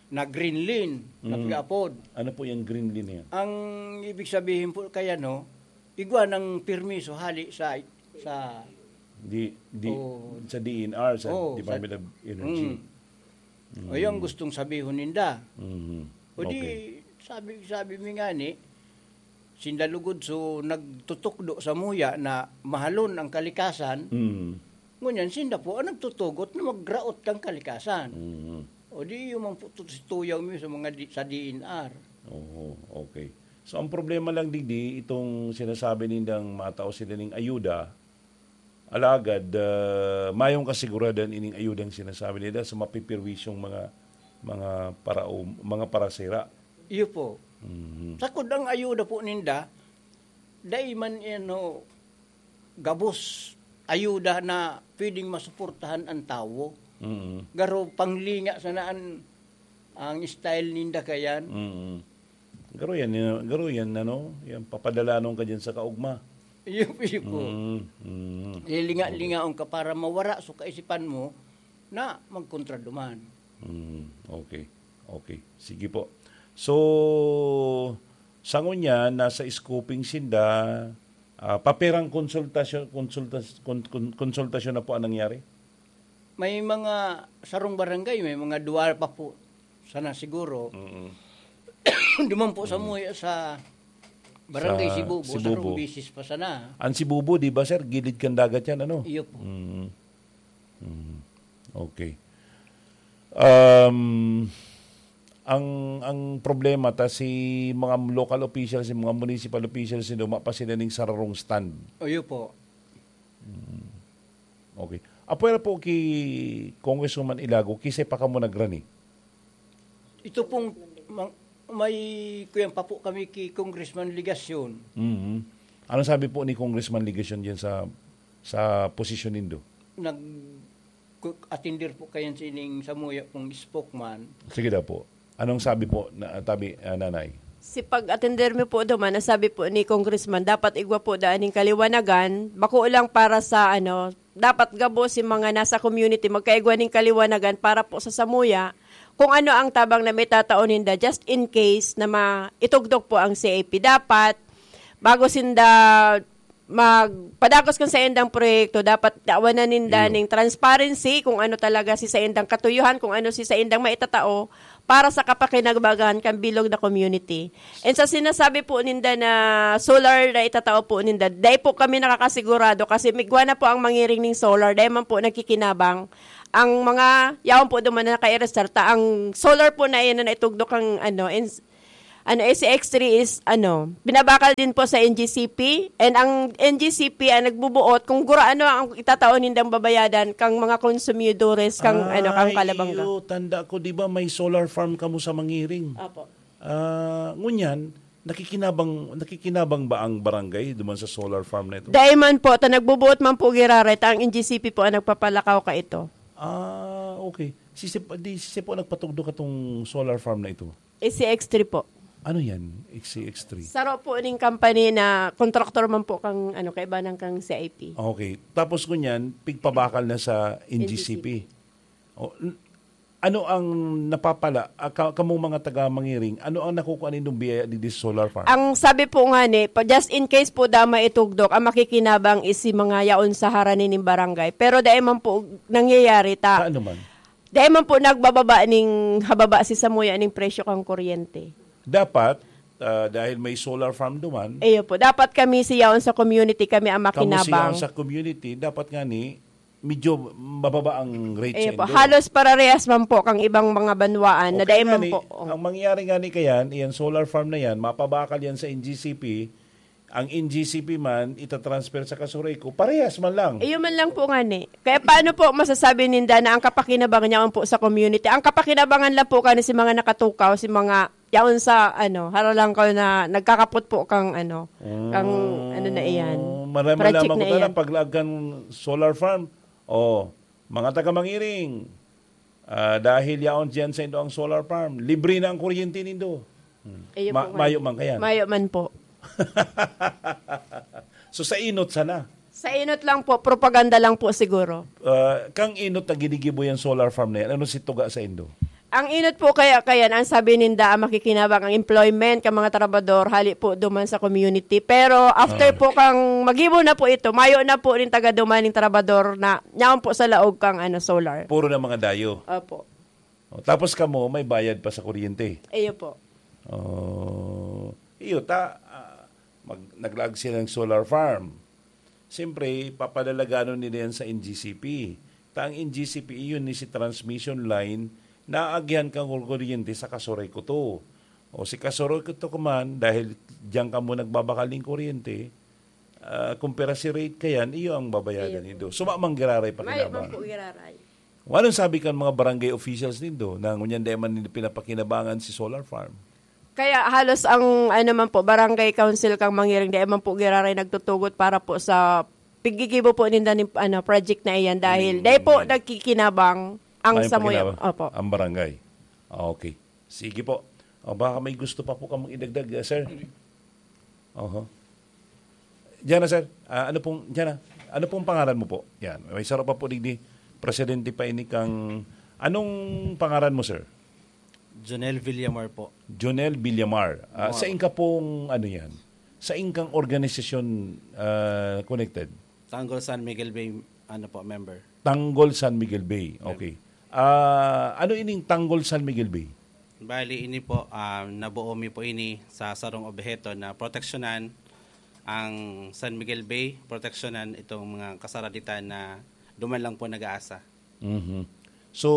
na Greenland, nagpag-apod. Ano po yung Greenland na yan? Ang ibig sabihin po kaya, no, igwa ng permiso hali sa, sa, Di, di, Oo. Sa D N R, sa Oo, Department sa- of Energy. Mm. O yung gustong sabihon ninda. Mhm. O di, Okay. sabi, sabi mi nga ni, sinda lugod so nagtutukdo sa muya na mahalon ang kalikasan, Mm. ngunyan sinda po ang nagtutugot na magraot kang kalikasan. Mhm. O di, yung man po to, si tuyaw mi sa mga di, sa D N R. Oo, okay. So, ang problema lang, digdi, itong sinasabi nindang matao sila ning ayuda, alagad, ah, mayong kasiguradan ining ayudang sinasabi nila sa mapipirwisyong mga, mga parao-, mga parasira. Iyo po. Mhm. Sakod ang ayuda po ninda, dai man yan, ho, gabos ayuda na pwedeng masuportahan ang tawo. Mhm. Garo panglinga sana ang, ang style ninda kayan. Mhm. Garo yan, yan, garo yan, ano, yan, papadalanon ka dyan sa kaugma. Iyo, iyo po. Mhm. Mhm. Lilinga-lingaon ka para mawara sa kaisipan mo na magkontra duman. Mm, okay. Okay. Sige po. So, sa ngunyan, nasa scoping sinda, ah, paperang konsultasyon, konsultas-, kon-, kon-, konsultasyon na po ang nangyari? May mga sarong barangay, may mga duwa pa po sana siguro. Mm. Duman po sa muya sa barangay Sa Sibubo, Sibubo. sarong bisis pa sana. Ang Sibubo, di ba, sir? Gilid kan dagat yan, ano? Iyo po. Mm. Mm. Okay. Um, ang ang problema ta si mga local officials, si mga municipal officials, sino pa sila ning sararong stand. Iyo po. Okay. Apwera po ki Congresswoman Ilago, kisay pa kamo nagrani? Ito pong ma-, may kuyan pa po kami ki Congressman Legacion. Mhm. Ano sabi po ni Congressman Legacion diyan sa sa posisyon nindo? Nag ku-, atender po kayan sining samuya pong spokesman. Sige daw po. Anong sabi po na tabi ah, nanay? Si pag-atender mi po duman, ang sabi po ni Congressman, dapat igwa po daan ning kaliwanagan, bako lang para sa ano, dapat gabo si mga nasa community, magkaigwa ning kaliwanagan para po sa samuya, kung ano ang tabang na may tatao ninda, just in case na maitugdok po ang C A P. Dapat, bago sinda magpadagos kan saindang proyekto, dapat tawanan ninda Iyo. Ning transparency kung ano talaga si saindang katuyuhan, kung ano si saindang maitatao, para sa kapakinabangan kan bilog na community. And sa sinasabi po ninda na solar na itatao po ninda, dai po kami nakakasigurado kasi migwa na po ang mangiring ning solar, dai man po nagkikinabang. Ang mga yaon po duman na nakaireserta, ang solar po na iyan na naitugdok ang ano, ins-, ano, S C X three is ano, binabakal din po sa N G C P, and ang N G C P ang nagbubuot kung gura ano ang itatao nindang babayadan kang mga konsumidores kang ano, kang Ay, Calabanga. Iyo, tanda ko, di ba may solar farm kamo sa Mangiring? Opo. Ah, ngunyan, nakikinabang, nakikinabang ba ang barangay duman sa solar farm na ito? Dai man po, ta nagbubuot man po giraray, ta ang N G C P po ang nagpapalakaw ka ito. Ah, okay. Sisi, di, sisi po nagpatugdok katong solar farm na ito? S C X three po. Ano yan, S C X three? Saro po ning company na kontraktor man po kang, ano, kaibanan kang C I P. Okay. Tapos ngunyan, pigpabakal na sa N G C P. N G C P. O, n-, ano ang napapala, ah, ka-, kamong mga taga Mangiring, ano ang nakukuha nindong biyaya digdi sa solar farm? Ang sabi po nga ni, pa-, just in case po dama itugdok, ang makikinabang is si mga yaon sa harani ning barangay. Pero dai man po nangyayari ta. Sa ano man? Dai man po nagbababa ning hababa si samuya ning presyo kang kuryente. Dapat, ah, dahil may solar farm duman, Iyo po. Dapat kami si yaon sa community, kami ang kamo siya makinabang. Sa community, dapat nga ni, medyo mababa ang rate sa Iyo po. Indo. Halos pararehas man po kang ibang mga banwaan na Okay dai nga man ni, po. Oh. Ang mangyayari nga ni kayan, iyan solar farm na yan, mapabakal yan sa N G C P, ang N G C P man, itatransfer sa Casureco, parehas man lang. Iyo man lang po nga ni. Kaya paano po masasabi ninda na ang kapakinabangan niya po sa community? Ang kapakinabangan lang po kani si mga nakatukaw, si mga yaon sa, ano, haralangkaw na nagkakapot po kang, ano, kang, Mm, ano na iyan, marami project lamang na ko tala, iyan. Paglaag kan solar farm. Oh, mga taga Mangiring, ah, dahil yaon diyan sa indo ang solar farm, libre na ang kuryente nindo. Hmm. Iyo Ma-, po, mayo man. Man kayan. Mayo man po. So, sa inot sana? Sa inot lang po, propaganda lang po siguro. Ah, kang inot na ginigibo yung solar farm na yan, ano si tuga sa indo? Ang inot po kaya, kaya ang sabi ninda, ang makikinabang ang employment ka mga trabador, hali po duman sa community. Pero after Ah. po kang magibo na po ito, mayo na po rin taga duman ng trabador na yaon po sa laog kang, ano, solar. Puro na mga dayo. Opo. O, tapos kamo, may bayad pa sa kuryente. Iyo po. Oh, iyo, ta-, ah, mag-, naglaag sila ng solar farm. Siyempre, papadalaganon nila yan sa N G C P. Ta ang N G C P, iyon ni si transmission line na aagihan kang kuryente sa Casureco to. O si Casureco to kuman, dahil diyan kamo nagbabakal ng kuryente, ah, kumpara si rate kayan, iyo ang babayadan Iyo po. Nindo. Suma mang giraray pa Mayo kinabang. Man po giraray. Anong sabi kan mga barangay officials nindo na ngunyan dai man nindo pinapakinabangan si solar farm? Kaya halos ang, ano man po, barangay council kang Mangiring, dai man po giraray nagtutugot para po sa piggigibo po ninda ning, ano, project na iyan dahil Mm. dai po nagkikinabang ang May samuya. Pakinabang Opo. Ang barangay. Ah, okay. Sige po. O, baka may gusto pa po kamong idagdag, ah, sir? Oho. Diyan na, sir. Ah, ano pong, diyan na. Ano pong pangalan mo po? Yan. May sarap pa po digdi. Presidente pa ini kang, anong pangalan mo, sir? Jonel Villamar po. Jonel Villamar. Ah, Villamar. Sa inka pong, ano yan? Sa inkang organisasyon, ah, connected? Tanggol San Miguel Bay, ano po, member. Tanggol San Miguel Bay. Member. Okay. Ah, ano ining Tanggol San Miguel Bay? Bali, ini po, ah, nabuo mi po ini sa sarong obheto na proteksyonan ang San Miguel Bay, proteksyonan itong mga kasaraditan na duman lang po nag-aasa. Mhm. So,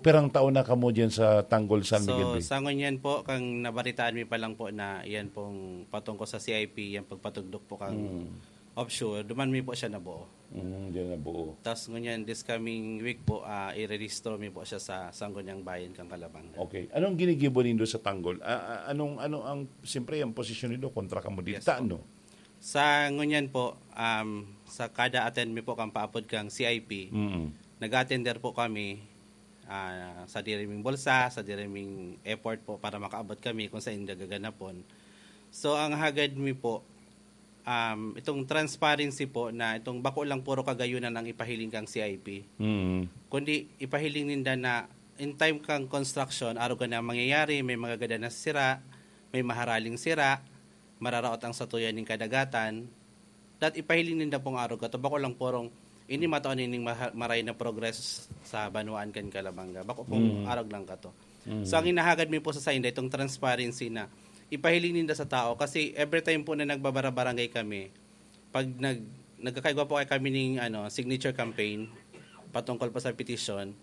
pirang taon na kamo diyan sa Tanggol San Miguel So, Bay? Sa ngunyan po, kang nabaritaan mi pa lang po na iyan pong patungkol sa C I P, yan pagpatugdok po kang Mm. offshore, duman mi po siya nabuo. Mm, diyan nabuo. Tas ngunyan, this coming week po, ah, irerehistro mi po siya sa Sangguniang Bayan kang Calabanga. Okay. Anong ginigibo nindo sa Tanggol? Ah, ah, anong, ano ang, siyempre, ang posisyon nindo kontra kamo dito, Yes po. Ano? Sa ngunyan po, um, sa kada attend mi po kang paapod kang C I P, Mm. nag-attender po kami, ah, sa diri ming bulsa, sa diri ming effort po para makaabot kami kung saan nagaganapon. So, ang hagad mi po, um, itong transparency po na itong bako lang puro kagayunan ang ipahiling kang C I P. Mm. Kundi ipahiling ninda na in time kang construction, arog na mangyayari, may mga gada na sira, may maharaling sira, mararaot ang satuyan ning kadagatan, dat ipahiling ninda pong arog kato. Bako lang purong, ini matao nining maha-, maray na progress sa banwaan kan Calabanga. Bako pong Mm. arog lang kato. So, ang hinahagad mi po sa sainda, itong transparency na ipahiling ninda sa tao. Kasi every time po na nagbabara-barangay kami, pag nag-, nagkakaigwa po kami ning, ano, signature campaign patungkol po sa petisyon,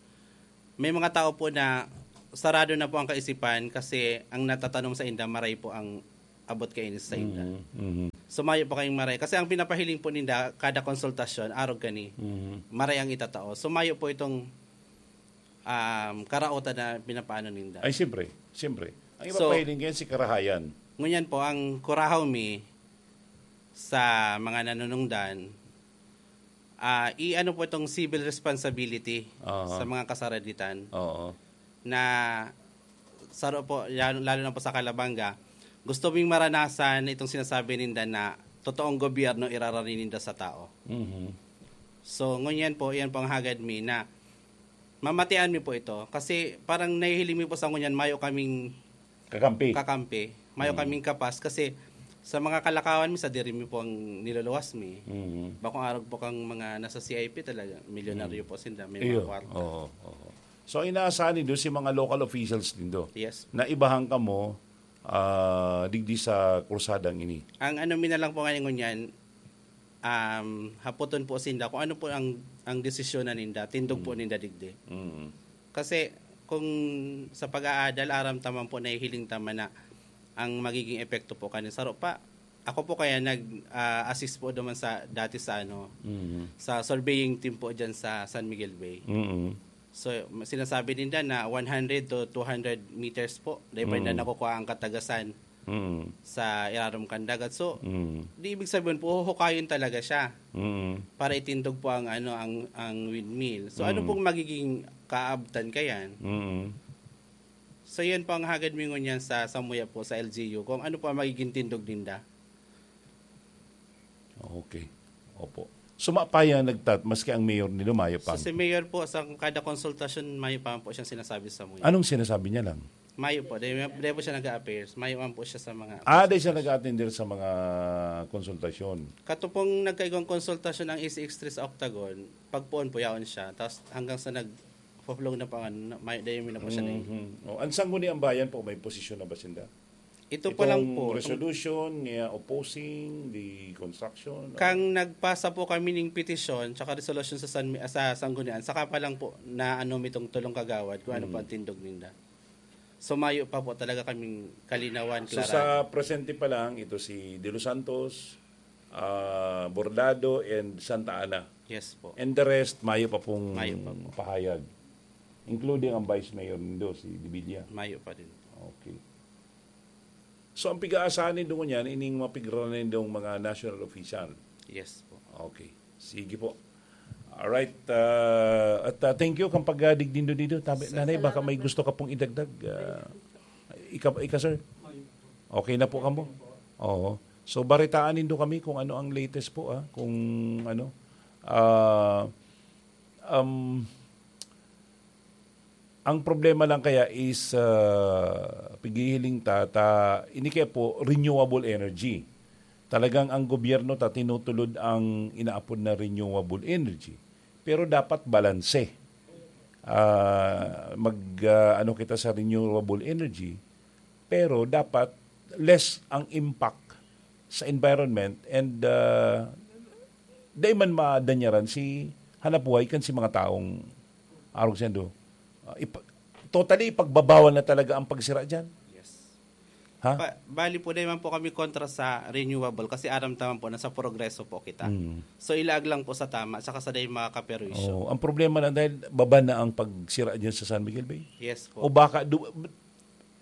may mga tao po na sarado na po ang kaisipan kasi ang natatanom sa inda, maray po ang abot kaini sa inda. Mhm, mhm. So, mayo po kayong maray. Kasi ang pinapahiling po ninda, kada konsultasyon, arog kani, Mhm. maray ang itatao. So, mayo po itong, um, karaotan na pinapaano ninda. Ay, siyempre, siyempre. Ang So, ipapahiling kayan si karahayan. Ngunyan po, ang kurahaw mi sa mga nanunungdan, ah, i-ano po itong civil responsibility Aha. sa mga kasaraditan Oo. na saro po, yan, lalo na po sa Calabanga, gusto ming maranasan itong sinasabi ninda na totoong gobyerno irarani ninda sa tao. Mhm. So, ngunyan po, yan po ang hagad mi na mamatian mi po ito. Kasi parang nahihiling mi po sa ngunyan, mayo kaming Kakampi. kakampi, mayo Mm. kaming kapas. Kasi sa mga kalakawan mi, sa diri mi po ang niluluwas mi. Mhm. Bakong arog po kang mga nasa C I P talaga, milyonaryo Mm. po sinda, may Iyo. mga kwarta. Oo, oo. So, inaasahan nindo si mga local officials nindo Yes. na ibahan kamo, ah, digdi sa kursadang ini. Ang ano mi na lang po ngayon ngunyan, um, hapoton po sinda kung ano po ang, ang desisyon na ninda, tindog po Mm. ninda digdi. Mm. Kasi kung sa pag-aadal, aram taman po, nahihiling taman na ang magiging epekto po kanin saro pa. Ako po kaya nag, ah, assist po naman sa, dati sa ano, Mhm. sa surveying team po dyan sa San Miguel Bay. Mhm. So, ma-, sinasabi ninda na one hundred to two hundred meters po. Dahil pa Mm. na nakukuha ang katagasan Mm. sa irarom kan dagat. So, Mm. di ibig sabihin po, huhukayin talaga siya Mm. para itindog po ang, ano, ang, ang windmill. So, ano Mm. pong magiging kaabtan kayan? Mm. So, yun po ang hagad mi ngunyan sa, sa muya po, sa L G U, kung ano po ang magiging tindog ninda. Okay. Opo. So, mapaya nagtat-, maski ang mayor nila, mayo pa. So, si mayor po, sa kada konsultasyon, mayo pa po siyang sinasabi sa muya. Anong sinasabi niya lang? Mayo po. Dahil, dahil po siya nag-a-affairs. Mayo man po siya sa mga Ah, dahil siya nag-attender sa mga konsultasyon. Kato pong nagkaigwang konsultasyon ang A C X three sa Octagon, pagpoon po yaon siya. Tapos hanggang sa nag-flow na pa nga, na-, may, dahil na po siya na Mhm. Oh, ang Sangguniang Bayan po, may posisyon na ba sinda? Ito pa lang Itong po, itong resolution niya opposing the construction, or Kang nagpasa po kami ning petisyon tsaka resolusyon sa San Mi-, sa Sanggunian, saka pa lang po na ano mitong tulong kagawad kung ano po Mm. ang tindog ninda. So, mayo pa po talaga kaming kalinawan, So, klarahan. sa presente pa lang, ito si De Los Santos, ah, Bordado, and Santa Ana. Yes po. And the rest, mayo pa pong Mayo pa po. pahayag. Including ang Vice Mayor nindo, si De Villa. Mayo pa din. Okay. So, ang pig-aasahan nindo ngunyan, ining mapigranan nindong mga national official. Yes po. Okay. Sige po. Alright. Ah, at, ah, thank you kang pagdigdi nindo dito. Tabi, Sir, Nanay, baka salamat may po. gusto ka pong idagdag. Ah, ika, ika, sir? Okay na po kamo? Oo. So, baritaan nindo kami kung ano ang latest po, ah, kung ano. Ah, um, ang problema lang kaya is, ah, pighihiling ta, ta, ini kaya po, renewable energy. Talagang ang gobyerno ta tinutulod ang inaapod na renewable energy. Pero dapat balanse. Ah, mag, ah, ano kita sa renewable energy, pero dapat less ang impact sa environment and, ah, dai man madanyaran si hanapbuhay kan si mga taong arog sendo. Ah, ipa-, totally ipagbabawal na talaga ang pagsira diyan. Yes. Ha? Pa-, bali po, dai man po kami kontra sa renewable kasi aram ta man po na sa progreso po kita. Mm. So, ilaag lang po sa tama, saka sa dai makakaperwisyo. Oo, ang problema lang dahil baba na ang pagsira diyan sa San Miguel Bay. Yes po. O baka du-,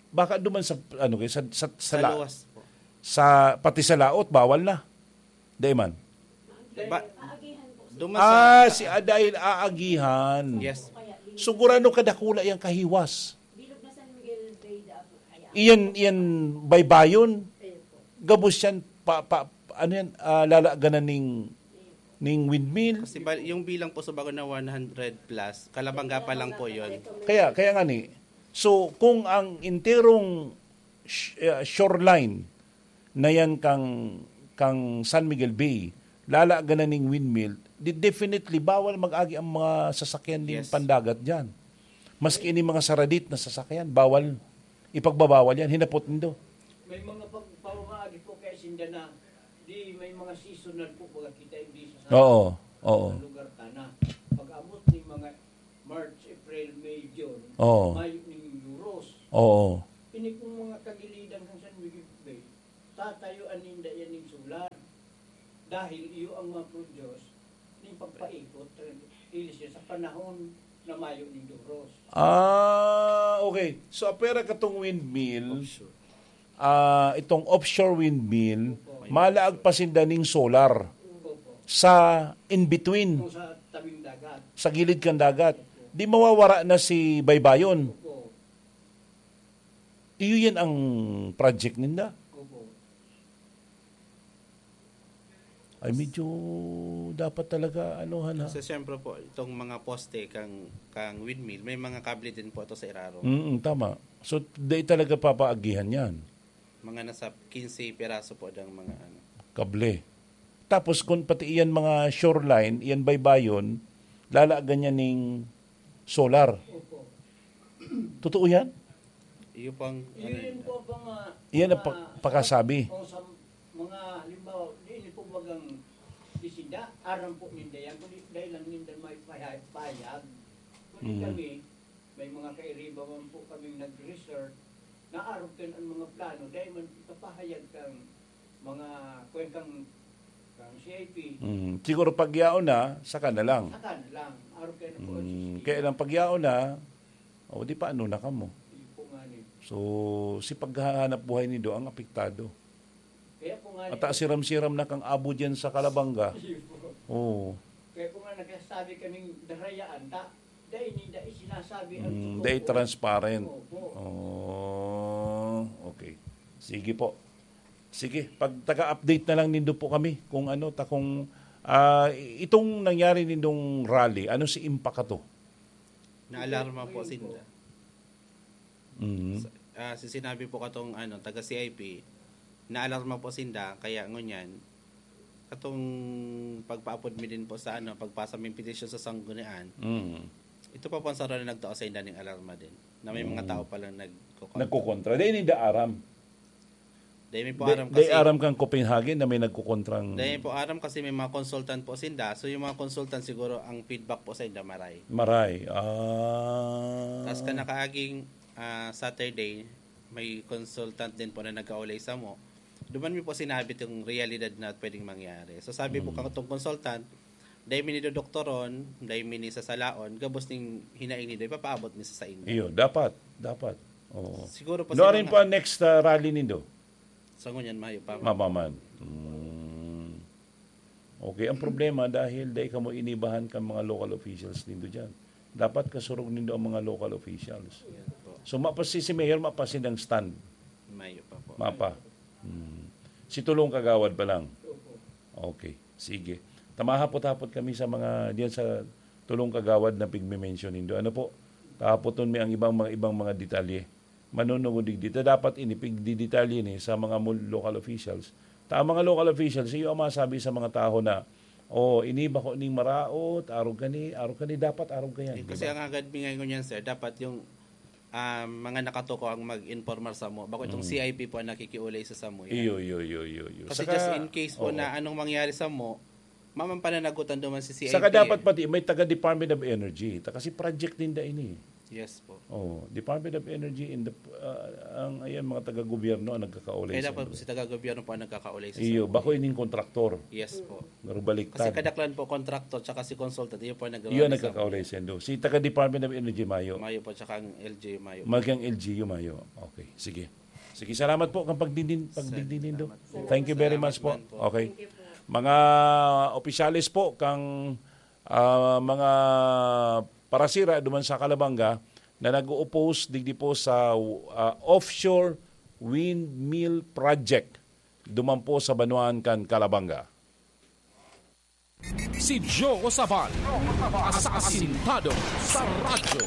baka duman sa, ano, sa, sa, sa Sa la-, luwas po. sa, pati sa laot, bawal na. Dai man. Ba-, duman Ah, sa si Adail aagihan. Yes. Sigurado kadakula yang kahiwas. Iyan, iyan baybayon. Gabos yan, pa, pa, ano yan, ah, lalaganan ning, ning windmill. Kasi ba, yung bilang po sa bago na one hundred plus, Calabanga pa lang po yun. Kaya, kaya nga ni, so, kung ang enterong sh-, ah, shoreline na yan kang, kang San Miguel Bay, lalaganan ning windmill, di definitely bawal mag-agi ang mga sasakyan ning Yes. pandagat diyan. Maski ini mga saradit na sasakyan, bawal. Ipagbabawal yan, hinapot nindo. May mga pagpamamaagi po kay sinda na di may mga seasonal po, baga kita hindi sa Oo, oo. Lugar ta na. Pag-abot ni mga March, April, May, June, Oo. Mayo ning Euros. Oo. Ini pong mga kagilidan kung saan Miguel Bay, tatayuan ninda yan ning solar. Dahil iyo ang mga produce ning pagpaikot, ili siya sa panahon na mayo ning Euros. Ah, okay. So, apera katong windmill, Offshore. ah, itong offshore windmill, Opo. malaag pa sinda ning solar Opo. sa in-between, Kung sa tabing dagat. sa gilid kan dagat. Di mawawara na si Baybayon. Opo. Iyo yan ang project ninda. Opo. Ay, medyo dapat talaga, ano, han, ha? So, siyempre po, itong mga poste kang, kang windmill, may mga kable din po ito sa irarom. Mm, tama. So, dai talaga papaagihan yan. Mga nasa quince piraso po dang mga ano. Kable. Tapos, kung pati iyan mga shoreline, iyan baybayon, lalagan niya ning solar. Opo. Totoo yan? Iyo pang, ano Yun yun? po ang mga, Iyan ang mga pa-, pakasabi. O sa mga, halimbawa, di ini po bagang isida, aram po ninda yan, kundi dahil lang ninda may pahayag. Kundi Mm. kami, may mga kairiba man po kaming nag-research, na arog kan ang mga plano, dahil man ipapahayag kang mga, kwen kang, kang C I P. Mm. Siguro pag yaon na, saka na lang. Saka na lang. Arog kayo na po ang Mm. C C T V. Kaya lang pag yaon na, o di paano na kamo? Yun po nga ni. So, si paghahanap buhay nindo ang apektado. Kaya po nga At ni, siram-siram na kang abo dyan sa Kalabanga. Yun po. Oo. Kaya po nga nagsasabi kaming darayaan, ta, dahil hindi sinasabi ang Mm, totoo dahil po. Transparent. Opo. Oh, okay. Sige po. Sige, pag taga-update na lang nindo po kami kung ano, ta kung, ah, itong nangyari nindong rally, ano si impakato? Naalarma po Ayun po. sinda. Mhm. Sa, ah, si sinabi po katong, ano, taga C I P, naalarma po sinda, kaya ngunyan, katong pagpaapod mi din po sa, ano, pagpasa mi petisyon sa sanggunian, Mhm. ito pa po ang saro na nagtao sa inda ning alarma din, na may mga Mm. tao palang nagkukontra. Nagkukontra. Di ninda aram. Di mi po Di, aram di kasi aram kang Copenhagen na may nagkukontrang Di mi po aram kasi may mga consultant po sinda. So, yung mga consultant siguro, ang feedback po sa inda, maray. Maray. Ah. Tas kanakaaging, ah, Saturday, may consultant din po na nagkaulay samo. Duman mi po sinabi itong realidad na pwedeng mangyari. So, sabi po Mm. katong consultant, dai mi nidodoktoron, dai mi nisasalaon, gabos ning hinaing nindo, ipapaabot mi sa, sa inyo. Iyo, dapat, dapat. Oo. Siguro po Nuarin sa mga pa ang next, ah, rally nindo? Sa ngunyan, mayo pa. Mapaman. Mm. Okay, ang problema dahil dai kamo inibahan kan mga local officials nindo dyan. Dapat kasurog nindo ang mga local officials. Yan po. So, mapasi si Mayor, mapasi ng stand. Mayo pa po. Mapa. Mm. Si Tulong Kagawad pa lang. Okay, sige. Tamahapot-hapot kami sa mga, diyan sa Tulong Kagawad na pigme-mention nindo. Ano po? Tahapoton mi ang ibang mga, ibang mga detalye. Manunungod digdi. Ta dapat ini pigdidetalye ni sa mga mul-, local officials. Ta ang mga local officials, iyo ang masabi sa mga tawo na, "Oh, ini bako ning maraot, arog kani, arog kani, dapat arog kayan," Eh, di kasi ba? Ang agad mi ngayon yan, sir, dapat yung, ah, mga nakatuko ang mag-informar samo. Bako itong Mm. C I P po ang nakikiulay sa samo yan. Iyo, iyo, iyo, iyo, iyo. Kasi Saka, just in case po oo. na anong mangyari samo, mamang pananagutan duman si C I P Saka eh. dapat pati may taga Department of Energy. Ta kasi project ninda ini. Yes po. Oh, Department of Energy in the, ah, ang, ayan, mga taga-gobyerno ang nagkakaulay Kaya sa dapat inyo. Si taga-gobyerno po ang nagkakaulay sa Iyo, sa bako ining kontraktor. Yes po. Pero baliktad. Kasi kadaklan po kontraktor tsaka si consultant, iyo po ang nag- Iyo ang nagkakaulay sa inyo. Si taga Department of Energy, mayo. Mayo po, tsaka ang L G U, mayo. Magang L G U, mayo. Okay, sige. Sige, salamat po kang pagdidin-, pagdigdi nindo. Salamat po. Thank you very much po. Salamat man po. Okay. Thank you po. Mga opisyales po kang, ah, mga parasira duman sa Calabanga na nag-o-oppose digdi po sa, ah, offshore windmill project duman po sa banwaan kan Calabanga. Si Joe Sabal, asasintado sa radyo.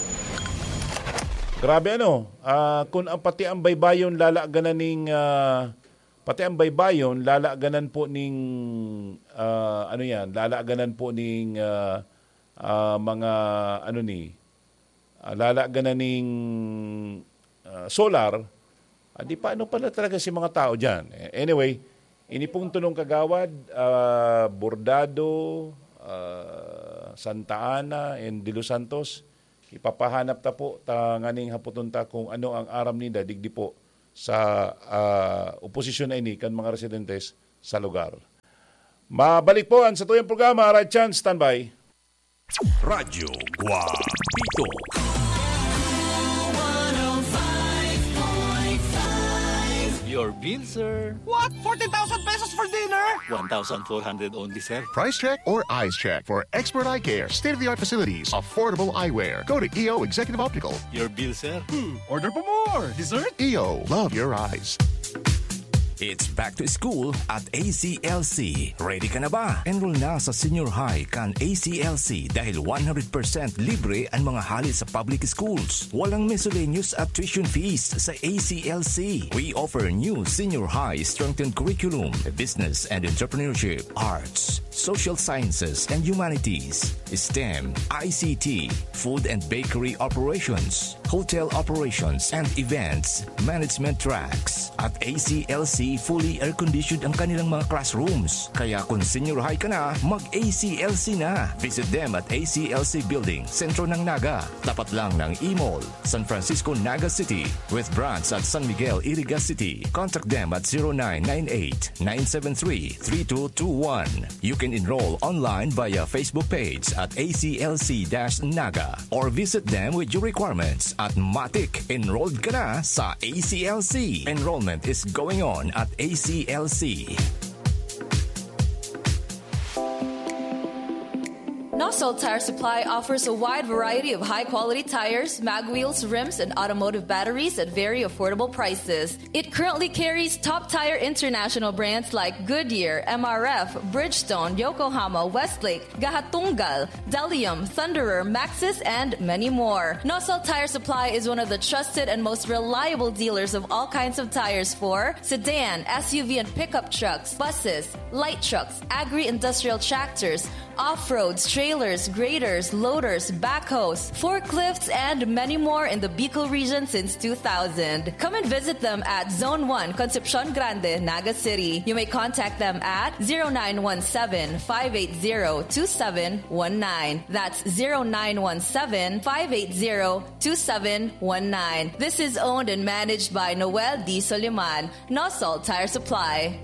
Grabe ano, ah, kung ang pati ang baybayon lalaganan ning, ah, pati ang baybayon lalaganan po ning, ah, ano yan, lalaganan po ning, ah, ah, mga ano ni, ah, lalagan na ning, ah, solar, ah, di paano pala talaga si mga tao diyan? Eh, anyway, ini pong tulong kagawad, ah, Bordado, ah, Santa Ana, and De Los Santos, ipapahanap ta po, tanganing hapoton ta kung ano ang aram ninda digdi po sa, ah, oposisyon na ini kan mga residentes sa lugar. Mabalik po ang satuyang programa, Right Chance, standby. Radyo Guapito. Your bill, sir. What? Fourteen thousand pesos for dinner? One thousand four hundred only, sir. Price check or eyes check for expert eye care, state-of-the-art facilities, affordable eyewear. Go to E O Executive Optical. Your bill, sir. Hmm, order pa more. Dessert? E O, love your eyes. It's back to school at A C L C. Ready ka na ba? Enroll na sa senior high kan A C L C dahil one hundred percent libre ang mga hali sa public schools. Walang miscellaneous at tuition fees sa A C L C. We offer new senior high strengthened curriculum, business and entrepreneurship, arts, social sciences and humanities, STEM, I C T, food and bakery operations, hotel operations and events management tracks. At A C L C, fully air-conditioned ang kanilang mga classrooms. Kaya kung senior high ka na, mag-A C L C na. Visit them at A C L C Building, sentro ng Naga. Tapat lang ng E-Mall, San Francisco, Naga City, with branch at San Miguel, Iriga City. Contact them at zero nine nine eight, nine seven three, three two two one. You can enroll online via Facebook page at A C L C dash Naga or visit them with your requirements at Matik. Enrolled ka na sa A C L C. Enrollment is going on at A C L C. Nosol Tire Supply offers a wide variety of high-quality tires, mag wheels, rims, and automotive batteries at very affordable prices. It currently carries top tire international brands like Goodyear, M R F, Bridgestone, Yokohama, Westlake, Gahatunggal, Delium, Thunderer, Maxxis, and many more. Nosol Tire Supply is one of the trusted and most reliable dealers of all kinds of tires for sedan, S U V, and pickup trucks, buses, light trucks, agri-industrial tractors, off-roads, trailers, graders, loaders, backhoes, forklifts, and many more in the Bicol region since two thousand. Come and visit them at Zone one, Concepcion Grande, Naga City. You may contact them at zero nine one seven, five eight zero, two seven one nine. That's zero nine one seven, five eight zero, two seven one nine. This is owned and managed by Noel D. Soliman, Nosol Tire Supply.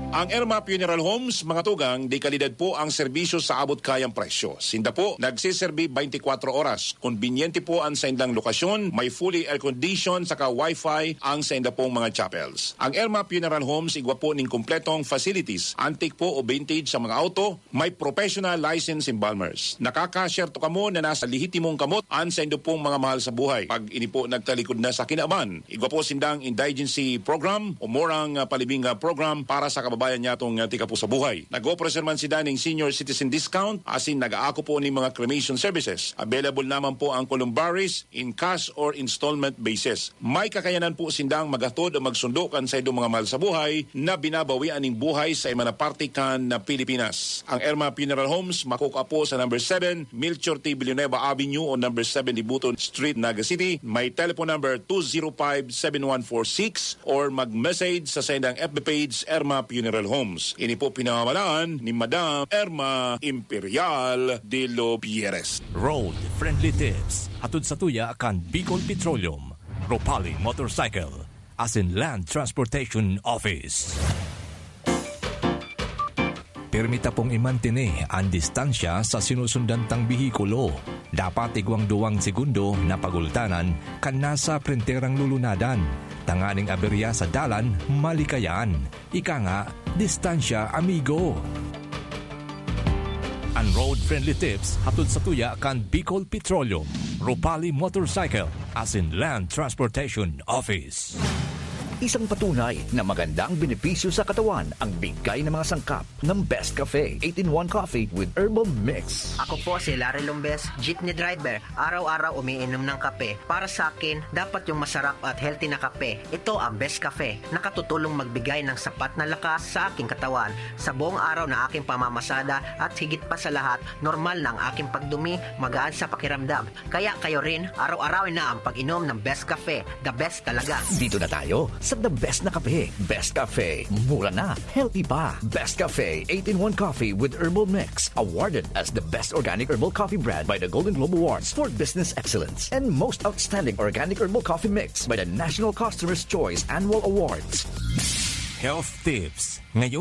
Ang Erma Funeral Homes, mga tugang, de kalidad po ang serbisyo sa abot kayang presyo. Sinda po nagseserbi twenty-four oras. Konbinyente po ang saindang lokasyon, may fully air-conditioned saka wifi ang sainda pong mga chapels. Ang Erma Funeral Homes igwa po ning kompletong facilities, antique po o vintage sa mga auto, may professional license embalmers. Nakakasyerto kamo na nasa lehitimong kamot ang saindo pong mga mahal sa buhay. Pag ini po nagtalikod na sa kinaban, igwa po sindang indigency program o murang, ah, palibing, ah, program para sa kababayan nyatong, ah, tika po sa buhay. Nag-operasyon man sinda ning senior citizen discount, asin nag-aako po ning mga cremation services. Available naman po ang columbaries in cash or installment basis. May kakayanan po sindang maghatod o magsundo kan saindong mga mahal sa buhay na binabawian ning buhay sa iba na parte kan Pilipinas. Ang Erma Funeral Homes makukua po sa number seven, Melchor T. Villanueva Avenue o number seven, Dibuton Street, Naga City. May telephone number two zero five, seven one four six or mag-message sa saindang F B page, Erma Funeral Homes. Ini po pinamamalaan ni Madam Erma Imperial de los Pierres. Road Friendly Tips, hatod sa tuya kan Bicol Petroleum, Ropali Motorcycle, asin Land Transportation Office. Pirmi ta pong imantene an distansya sa sinusundan tang behikulo. Dapat igwang duwang segundo na pagultanan kan nasa prenterang lulunadan, tanganing aberya sa dalan malikayan. Ika nga, distansya, amigo. An Road Friendly Tips hatod sa tuya kan Bicol Petroleum, Ropali Motorcycle, asin Land Transportation Office. Isang patunay na magandang benepisyo sa katawan ang bigay ng mga sangkap ng Best Cafe eight-in-one Coffee with Herbal Mix. Ako po si Larry Lombes, jeepney driver. Araw-araw umiinom ng kape. Para sa akin, dapat yung masarap at healthy na kape. Ito ang Best Cafe. Nakatutulong magbigay ng sapat na lakas sa aking katawan. Sa buong araw na aking pamamasada at higit pa sa lahat, normal na ang aking pagdumi, magaan sa pakiramdam. Kaya kayo rin, araw-arawin na ang pag-inom ng Best Cafe. The best talaga. Dito na tayo sa the best na kape. Best Cafe. Mura na. Healthy pa. Best Cafe eight-in-one Coffee with Herbal Mix. Awarded as the best organic herbal coffee brand by the Golden Globe Awards for Business Excellence and most outstanding organic herbal coffee mix by the National Customer's Choice Annual Awards. Health Tips ngayong